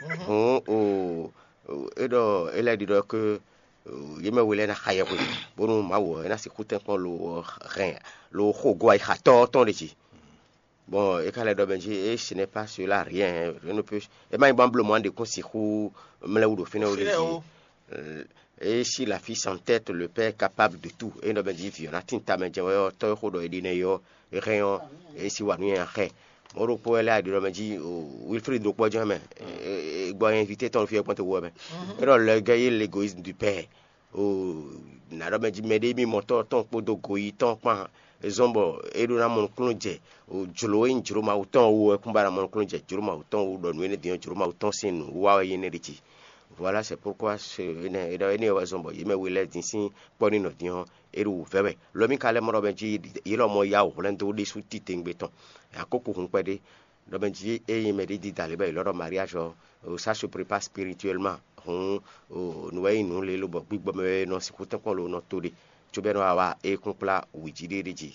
Hǔn o, é ɖɔ é lɛ́ ɖiɖɔ ke yě mɛ we lɛ́ɛ ná xa yɛhwe, bónú Mawu ɔ́, é ná sixú tɛ́nkpɔ́n lo hɛn lo xo gɔ́ ayixatɔ́ tɔn ɖe jí. Bon, é ka lɛ́ ɖɔ mɛ jí, et ce n'est pas cela, rien, rien ne peut, é má nyí bɔ bló mɔ ɖě kún sixú mlɛ́ wú ɖo fínɛ́ wú ɖe jí. Et si la fille s'entête, le père est capable de tout. É ɖɔ mɛ jí vǐ ɔ́ ná tín tamɛ jɛ́n wɛ ɔ́, tɔ́ e xó ɖɔ é ɖi nɛ́ é ɔ́, é hɛn ɔ́, é si wa nú nyanya xɛ. Mɔ̌ ɖokpó wɛ lɛ́ aɖi ɖɔ mɛ jí, wílfrid ɖokpó ɔ́ jɛ́n mɛ, gbɔ invité tɔn fí ɔ́ kpɔ́n te wú wɛ mɛ. É ɖɔ le gars est l'égoïsme du père. Nǎ ɖɔ mɛ jí mɛɖé mimɔtɔ́ tɔn kpódó goyí tɔn kpán zɔ́n bɔ é ɖó ná mɔ nukúnnú jɛ jlǒ e nyí jlǒ Mawu tɔn wú wɛ kún ba ná mɔ nukúnnú jɛ jlǒ Mawu tɔn wú, ɖɔ nǔ énɛ́ din ɔ́, jlǒ Mawu tɔn sín nǔwiwa wɛ nyí énɛ́ ɖi jí. Voilà, c'est pourquoi ce énɛ́ é ɖɔ énɛ́ wɛ zɔ́n bɔ yě mɛ we lɛ́ɛ din sín kpɔ́ ní nɔ din ɔ́, é ɖo wǔvɛ́ wɛ. Lɔ mì ka lɛ́ mɔ ɖɔ mɛ jí yě lɔmɔ̌ yá wǔ hwlɛ́n dó ɖésú titewungbe tɔn. Akókò hun kpɛɖé. Ɖɔ mɛ jí ényí mɛɖé dída lě bɔ è lɔ́ ɖɔ mariage ɔ́, ça se prépare spirituellement. Hǔn nǔ wɛ nyí nǔ lě lobɔ gbígbɔ mɛ wɛ nɔ sixú tɛ́nkpɔ́n lo nɔ to ɖe, cóbɔ é nɔ wa wá é kún kplá wǐjíɖéɖé jí.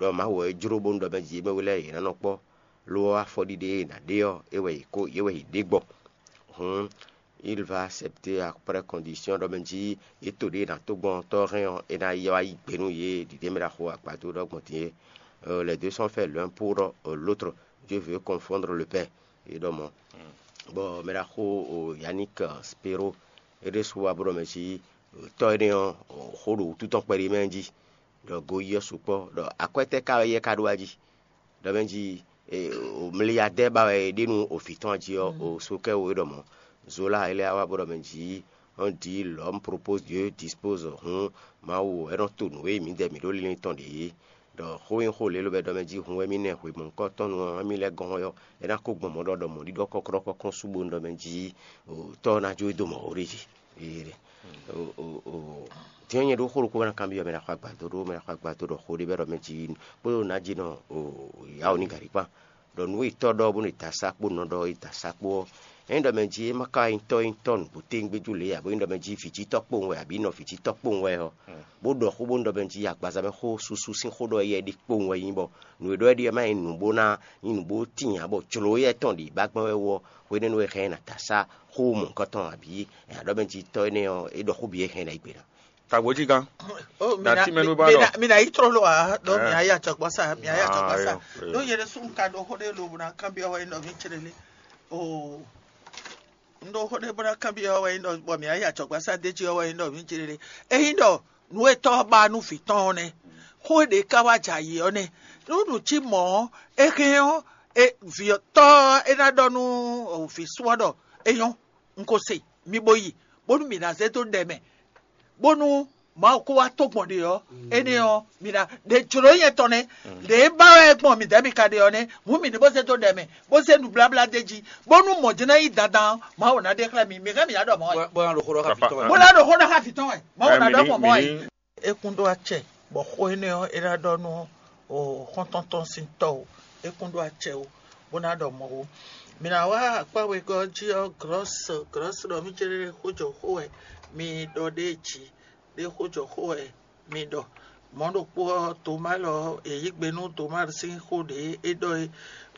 Ɖɔ Mawu wɛ é jló bónú ɖɔ mɛ jí yě mɛ we lɛ́ɛ yě ná nɔ kpɔ́, lo ɔ́ afɔɖiɖe e è nǎ ɖe ɔ́, é wɛ yě kó yě wɛ yě ɖe gbɔ. Hǔn il va accepter après condition ɖɔ mɛ jí yě to ɖě è nǎ tó gbɔn tɔ́ hɛn ɔ́, é ná yi wá yí gbe nú yě ɖiɖě mɛ ɖaxó agbadó ɖɔ gbɔn din é. Les deux sont faits l'un pour l'autre. Dieu veut confondre le père. É ɖɔ mɔ̌. Bɔ mɛ ɖaxó Yannick Spero é ɖésú wá bó ɖɔ mɛ jí tɔ́ énɛ́ ɔ́, xó ɖo wútu tɔn kpɛɖé mɛ jí, ɖɔ goyí ɔ́ sukpɔ́, ɖɔ akwɛ́ tɛ́ ka wɛ yɛ ka ɖó wá jí? Ɖɔ mɛ jí mliadɛ́ ba wɛ è ɖe nú òvǐ tɔn jí ɔ́, o sokɛ́ wo é ɖɔ mɔ̌. Zola é lɛ́ wá bó ɖɔ mɛ jí, on dit l'homme propose, Dieu dispose. Hǔn Mawu é nɔ to nǔ e mǐdɛɛ mǐ ɖó linlin tɔn ɖě é. Ɖɔ xó nyí xó lě lobɛ ɖɔ mɛ jí hun wɛ mì nɛ hwemɔ̌kɔ́tɔ́nu ɔ́, émí lɛ́ɛ gɔ́n ɔ́, é ná kó gbɔn mɔ̌ ɖɔ ɖɔ mɔ̌ ɖiɖɔ kɔ́klɔ́kɔ́ kɔn sú bónú ɖɔ mɛ jí tɔ́ ɔ́ ná jó é dó mɔ̌ ó ɖé jí. Din ɔ́, nyɛ ɖó xó ɖokpó bɔ ná kanbyɔ́ mɛ ɖaxó agbadó ɖó mɛ ɖaxó agbadó ɖɔ xó ɖé bɛ ɖɔ mɛ jí kpódó nǎ jí nɔ yawó ní gǎrí kpán. Ɖɔ nǔ e tɔ́ ɖɔ bónú è da sá kpó nɔ ɖɔ è da sá kpó ɔ́, ényí ɖɔ mɛ jí é má ka nyí tɔ́ nyí tɔ́ nǔgbó téŋgbéjú lě ǎ, bó nyí ɖɔ mɛ jí vǐjítɔ́ kpowun wɛ abǐ nɔ vǐjítɔ́ kpowun wɛ ɔ́, bó ɖɔ xó bónú ɖɔ mɛ jí agbaza mɛ xó susu sín xó ɖɔ yɛ ɖi kpowun wɛ nyí bɔ nǔ e ɖɔ é ɖi ɔ́ má nyí nǔ bó ná nyí nǔ bó tíin ǎ, bɔ jlǒ yɛ tɔn ɖě bá gbɛn wɛ wú ɔ́, hwenɛ́nu e hɛn ɛ ná da sá xó mɔ̌hunkɔtɔn abǐ è nǎ ɖɔ mɛ jí tɔ́ énɛ́ ɔ́, é ɖɔ xó bǐ e hɛn ná yi gbe ná. Tagbo jí gán. Ó, mi Nati ná- mɛnu mi ba ná- nɔ. Mi ná yí tró ló wá, ɖó mi á yí acɔkpɔ́sá, mi á yí acɔkpɔ́sá. Ayɔ. Ɖó yɛ ɖésú un ka ɖo xó ɖé lobo ná kanbyɔ́ wɛ nɔ mí clé lé. O, un ɖo xó ɖé bó ná kanbyɔ́ wɛ nɔ bɔ mi á yí acɔkpɔ́sá d'é jí wɛ nɔ mí clé lé. Ényí ɖɔ nǔ e tɔ́ ɔ́ ba nú vǐ tɔn ɔ́ nɛ́, xó e ɖě ká wá jɛ ayǐ ɔ́ nɛ́, nú nǔ cí mɔ̌ ɔ́, é hɛn ɔ́, e vǐ ɔ́ tɔ́ ɔ́ é ná ɖɔ nú vǐ sú ɔ́ ɖɔ é nyɔ́, un ko se, mi bo yi, bónú mǐ ná zé dó ɖɛ mɛ, bónú Mawu kó wá tó gbɔn ɖe ɔ́, énɛ́ ɔ́, mi ná ɖe jlǒ nyɛ tɔn nɛ́, ɖě ba wɛ gbɔn mǐdɛɛ mi ka ɖe ɔ́ nɛ́, hǔn mǐ ní bó zé dó ɖɛ mɛ, bó zé nǔbláblá d'é jí, bónú mɔ̌ jɛ́n ná nyí dandan ɔ́, Mawu ná ɖe xlɛ́ mi. Mi hɛn mǐ ná ɖɔ mɔ̌ wɛ. Bó ná ɖo xó ɖɔ xá vǐ tɔn wɛ. Bó ná ɖo xó ɖɔ xá vǐ tɔn wɛ, Mawu ná ɖɔ mɔ̌ mɔ̌ wɛ. É kún ɖó acɛ, bɔ xó énɛ́ ɔ́, é ná ɖɔ nú xɔ́ntɔn tɔn sín tɔ́ o, é kún ɖó acɛ o, bó ná ɖɔ mɔ̌ o. Mi ná wá akpá wegɔ́ ɔ́ jí ɔ́, glɔ́s glɔ́s ɖɔ mí céɖéɖé xó jɔ xó wɛ mi ɖɔ ɖéé jí, ɖé xó jɔ xó wɛ mi ɖɔ. Mɔ̌ ɖokpó ɔ́, Toma lɔ è yí gbe nú Toma sín xó ɖě é ɖɔ é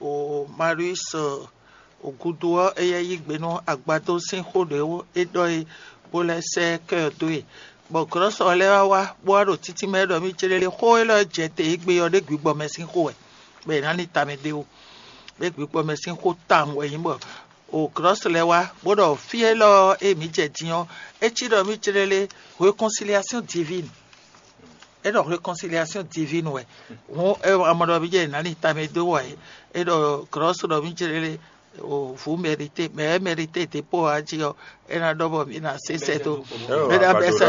o Marius o gúdo ɔ́, éyɛ́ yí gbe nú agbadó sín xó ɖě é ɖɔ é bó lɛ́ sɛ́ kɛ ɔ́ dó e. Bɔ glɔ̌sɔ lɛ́ɛ wá wá bó wá ɖo títí mɛ ɖɔ mì céɖéɖé xó élɔ́ jɛ te e gbe ɔ́ ɖé gbǐgbɔ mɛ sín xó wɛ, bɔ è nǎ ní tamɛ ɖé ó. Ɖé gbǐgbɔ mɛ sín xó tawun wɛ nyí bɔ o glɔ̌sɔ lɛ́ɛ wá bó ɖɔ fí élɔ́ e mǐ jɛ din ɔ́, é cí ɖɔ mì céɖéɖé réconciliation divine. É ɖɔ réconciliation divine wɛ. Hǔn é amɔ ɖɔ mì jɛ nǎ ni tamɛ dó wɛ é ɖɔ glɔ̌sɔ ɖɔ mì jɛ lé o vǔ mérité, mɛ é mérité dépôt ɔ́ jí ɔ́, é ná ɖɔ bɔ mì ná sé sɛ́ dó. Mɛ ná bɛ sɛ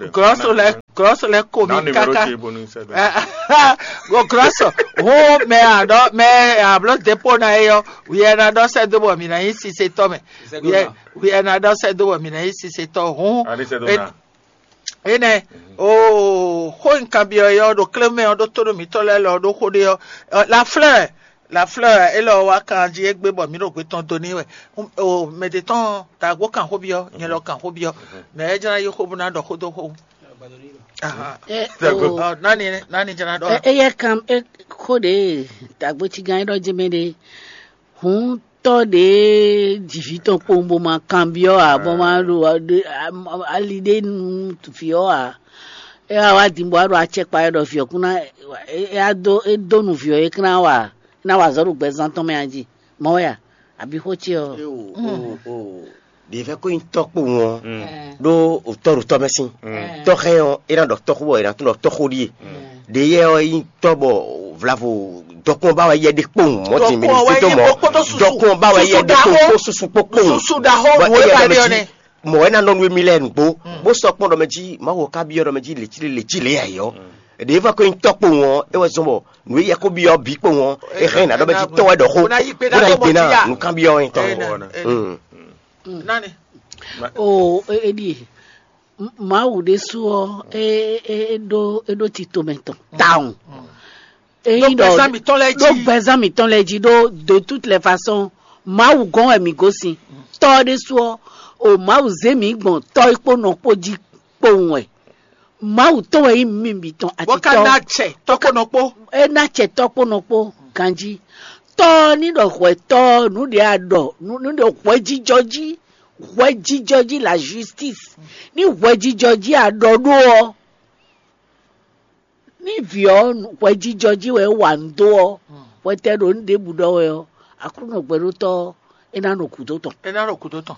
glɔ̌sɔ lɛ glɔ̌sɔ lɛ ko mi káká. Go glɔ̌sɔ hǔn mɛ àɖɔ mɛ àblɔ dépôt ná é ɔ́, wǐ ɛ ná ɖɔ sɛ́ dó bɔ mì ná nyí sisetɔ́ mɛ. Wǐ ɛ ná ɖɔ sɛ́ dó bɔ mì ná nyí sisetɔ́ hǔn. Énɛ́ oo xó e un kanbyɔ́ é ɔ́ ɖo klémɛ ɔ́ ɖótó ɖo mǐtɔn lɛ́ɛ lɔ ɖó xó ɖé ɔ́, la fleur la fleur élɔ́ wá kan jí égbé bɔ mǐ ɖo gbe tɔn dó n'i wɛ. Mɛ ɖě tɔn dǎgbó kan xó byɔ́, nyɛ lɔ kan xó byɔ́, mɛ é jlá yi xó bó ná ɖɔ xó dó xó. Nani nani jlá ɖɔ. Éyɛ́ kan xó ɖě dǎgbó cígán é ɖɔ jɛmɛ ɖé. Hǔn tɔ́ ɖě ji vǐ tɔn kpowun bó ma kanbyɔ́ ǎ, bó ma ɖo ali ɖé nú vǐ ɔ́ ǎ. É wá wá din bó wá ɖo acɛkpa wɛ ɖɔ vǐ ɔ́ kún ná é wá dó é dó nu vǐ ɔ́ é kún ná wa é ná wa azɔ̌ ɖo gbɛzán tɔn mɛ a jí mɔ̌ wɛ a? Abǐ xó ce ɔ́? Ɖě vɛ́ ko nyí tɔ́ kpowun ɔ́ ɖó tɔ́ ɖo tɔ́ mɛ sín. Tɔ́ hɛn ɔ́, é ná ɖɔ tɔ́ xó bɔ è nǎ tunwun ɖɔ tɔ́ xó ɖíe. Ɖě yɛ ɔ́ nyí tɔ́ bɔ vlavo dɔkun ɔ́ ba wɛ yɛ ɖe kpowun mɔ̌ din mɛ ní fídó mɔ̌. Dɔkun ɔ́ ba wɛ yɛ ɖe kpowun kpó susu kpó kpowun. Susu ɖaxó Bɔ nǔ é éyɛ́ ba ɖɔ ɖe mɛ ɔ́ jí nɛ́. Mɔ̌ é ná nɔ nú émí lɛ́ɛ nǔgbó, bó sɔ́ kpɔ́n ɖɔ mɛ jí Mawu ɔ́ ká byɔ́ ɖɔ mɛ jí lě cí lě cí lě ǎ é ɔ́. Ɖě é va ko nyí tɔ́ kpowun ɔ́, é wɛ zɔ́n bɔ nǔ e yɛ ko byɔ́ bǐ kpowun ɔ́, é hɛn ná ɖɔ mɛ jí tɔ́ wɛ ɖɔ xó, bó ná yí gbe ná nǔkanbyɔ́ ɔ́ nyí tɔn. Nani. Oo, é ɖíe. Mawu ɖésú ɔ́, é ɖó é ɖó tito mɛ tɔn tawun. Ényí ɖɔ gbɛzán mǐtɔn lɛ́ɛ jí. Ɖó gbɛzán mǐtɔn lɛ́ɛ jí ɖó de toute les façons, Mawu gɔ́n wɛ mǐ gosín. Tɔ́ ɔ́ ɖésú ɔ́, o Mawu zé mǐ gbɔn tɔ́ é kpó nɔ kpó jí kpowun wɛ. Mawu tɔn wɛ nyí mǐ bǐ tɔn. Bó ka ná acɛ tɔ́ kpó nɔ kpó. É ná acɛ tɔ́ kpó nɔ kpó ganjí. Tɔ́ ɔ́ ní ɖɔ hwɛ̌tɔ́ ɔ́, nǔ ɖě a ɖɔ, nǔ ɖě hwɛjijɔ jí, hwɛjijɔ jí la justice. Ní hwɛjijɔ jí a ɖɔ ɖó ɔ́, ní vǐ ɔ́ hwɛjijɔ jí wɛ é wa nǔ dó ɔ́, hwɛtɛn ɖo nǔ ɖěbǔ ɖɔ wɛ ɔ́, Aklúnɔ gbɛɖótɔ́ ɔ́, é ná nɔ gǔdo tɔn. É ná nɔ gǔdo tɔn.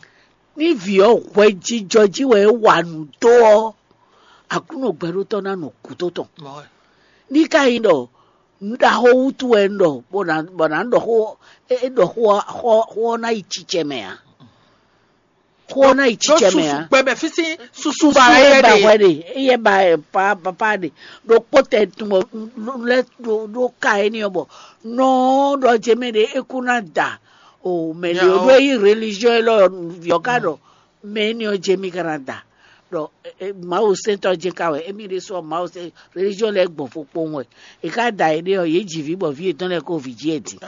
Ní vǐ ɔ́ hwɛjijɔ jí wɛ é wa nǔ dó ɔ́, Aklúnɔ gbɛɖótɔ́ ná nɔ gǔdo tɔn. Ní ka nyí ɖɔ nǔ ɖaxó wútu wɛ un ɖɔ bɔ nǎ bɔ nǎ ɖɔ xó é é ɖɔ xó ɔ́ xó xó ɔ́ ná yi cicɛ mɛ ǎ. Xó ɔ́ ná yi cicɛ mɛ ǎ. Gbɛmɛ fí sín susu Susu ba é ba hwɛ ɖe. Ɖe, éyɛ́ ba ɛ pa papa ɖe. Ɖokpó tɛ tun bɔ lɛ ɖo ɖo ka éní ɔ́ bɔ nɔ ɖɔ jɛ mɛ ɖe é kú ná da. O mɛ ɖe o ɖo é yí religion élɔ́ vǐ ɔ́ ka ɖɔ mɛ éní ɔ́ jɛ mì ka ná da. Ɖɔ Mawu sɛntɔ́ jɛ ka wɛ émí ɖésú ɔ́ Mawu sɛn religion lɛ́ɛ gbɔn fokpowun wɛ. È ka da yě ɖe ɔ́, yě ji vǐ bɔ vǐ yětɔn lɛ́ɛ ko vǐ jí ɛ din.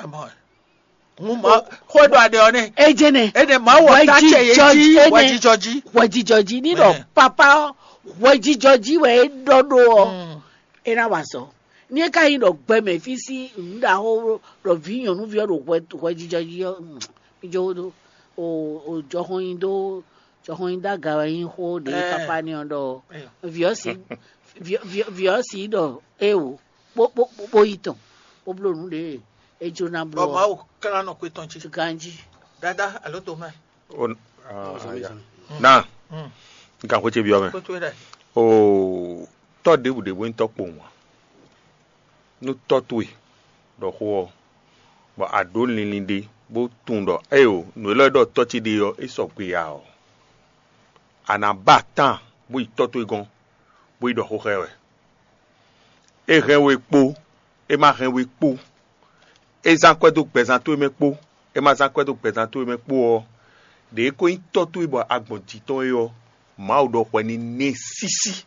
Hun ma xó e ɖo aɖe ɔ́ nɛ. Ejene. Ene Mawu ɔ́ ta cɛ yě jí wɛjijɔ jí. Wɛjijɔ jí ní ɖɔ papa ɔ́, wɛjijɔ jí wɛ é ɖɔ ɖó ɔ́, é ná wa azɔ̌. Ní é ka nyí ɖɔ gbɛmɛ fí sín nǔɖaxó ɖɔ vǐ nyɔ̌nuví ɔ́ ɖo hwɛjijɔ jí ɔ́, mí jó ɖó o jɔxɔn nyi dó jɔxɔn nyi dó aga wɛ nyí xó ɖě papa ní ɔ́ ɖɔ vǐ ɔ́ sí vǐ ɔ́ sí ɖɔ éwo bó bó bó yi tɔn bó bló nǔ ɖě é jló ná bló. Bɔ Mawu klán nɔ xwé tɔn jí. Ganjí. Dada alo tomɛ. Na n kan xwé ce byɔ́ mɛ. Kótó ɖɛ. Oo, tɔ́ ɖěbǔ ɖě bó nyí tɔ́ kpowun ǎ. Nú tɔ́ towe ɖɔ xó ɔ́, bɔ a ɖǒ linlin ɖé bó tunwun ɖɔ éyo nǔ élɔ́ e ɖɔ tɔ́ ce ɖe ɔ́, é sɔgbe ǎ ɔ́, a nǎ ba tán bó yi tɔ́ towe gɔ́n, bó yi ɖɔ xó xá ɛ wɛ. É hɛn we kpó, é ma hɛn we kpó, é zán akwɛ́ dó gbɛzán towe mɛ kpó, é ma zán akwɛ́ dó gbɛzán towe mɛ kpó ɔ́, ɖě é ko nyí tɔ́ towe bɔ a gbɔn jǐ tɔn é ɔ́, Mawu ɖɔ hwɛ ní nɛ́ sísí,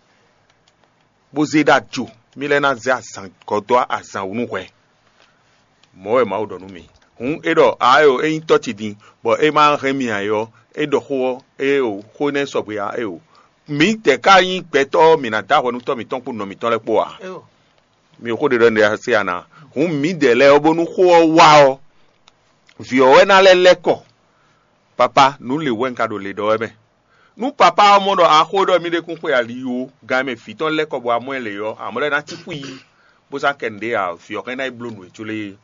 bó zé ɖó ajo, mí lɛ́ ná zé azǎn gɔ́ dó azǎn wú nú hwɛ. Mɔ̌ wɛ Mawu ɖɔ nú mì. Hǔn é ɖɔ ǎ é o, é nyí tɔ́ ce din, bɔ é ma hɛn mì ǎ é ɔ́, é ɖɔ xó ɔ́, é o, xó énɛ́ sɔgbe ǎ é o. mǐdɛɛ ka nyí gbɛtɔ́, mǐ ná dó ahwɛ nú tɔ́ mǐtɔn kpó nɔ mǐtɔn lɛ́ɛ kpó ǎ. Mi xó ɖe ɖɔ nɖe se ana. Hǔn mǐdɛɛ lɛ́ɛ ɔ́, bónú xó ɔ́ wá ɔ́, vǐ ɔ́ wɛ ná lɛ́ lɛ́ kɔ. Papa, nǔ lě wɛ un ka ɖo le ɖɔ wɛ mɛ. Nú papa ɔ́ mɔ ɖɔ axó ɖɔ mì ɖe kún xwe ali ó, gan e mɛ vǐ tɔn lɛ́ kɔ bɔ amɔ ɛ lě ɔ́, amɔ lɛ́ɛ ná cí xwí yí, bó sá kɛ nǔɖé ǎ, vǐ ɔ́ hɛn ná yi bló nǔ e có lé é.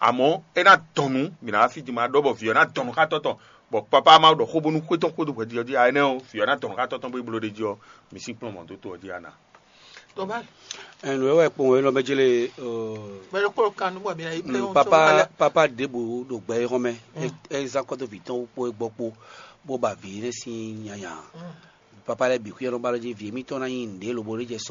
Amɔ̌ é ná dɔn nǔ, mǐ ná wá fí din ma ɖɔ bɔ vǐ ɔ́ ná dɔn nǔ xá tɔ́ tɔn, bɔ papa ma ɖɔ xó bónú xwé tɔn xwé dó hwɛjijɔ jí ǎ, énɛ́ ɔ́, vǐ ɔ́ ná dɔn nǔ xá tɔ́ tɔn bó yi bló ɖ'é jí ɔ́, mǐ sín kplɔ́n mɔ̌ dó to ɔ́ jí a nǎ. Tɔba. Ɛn, nǔ e wɔ kpɔn wɛ nɔ mɛ jele. Bɛlɛ kpɔlɔ kan nú bɔ mi na yi play on papa so. Papa ɖěbǔ ɖo gbɛ yixɔ mɛ. É zán kɔ́ dó vǐ tɔn kpó é gbɔ kpó, bó ba vǐ énɛ́ sín nyanya. Papa lɛ́ɛ bǐ xwíyɔ́ nɔ ba ɖó jí vǐ émítɔn ná nyí nǔɖé lobo ɖé jɛ sɔ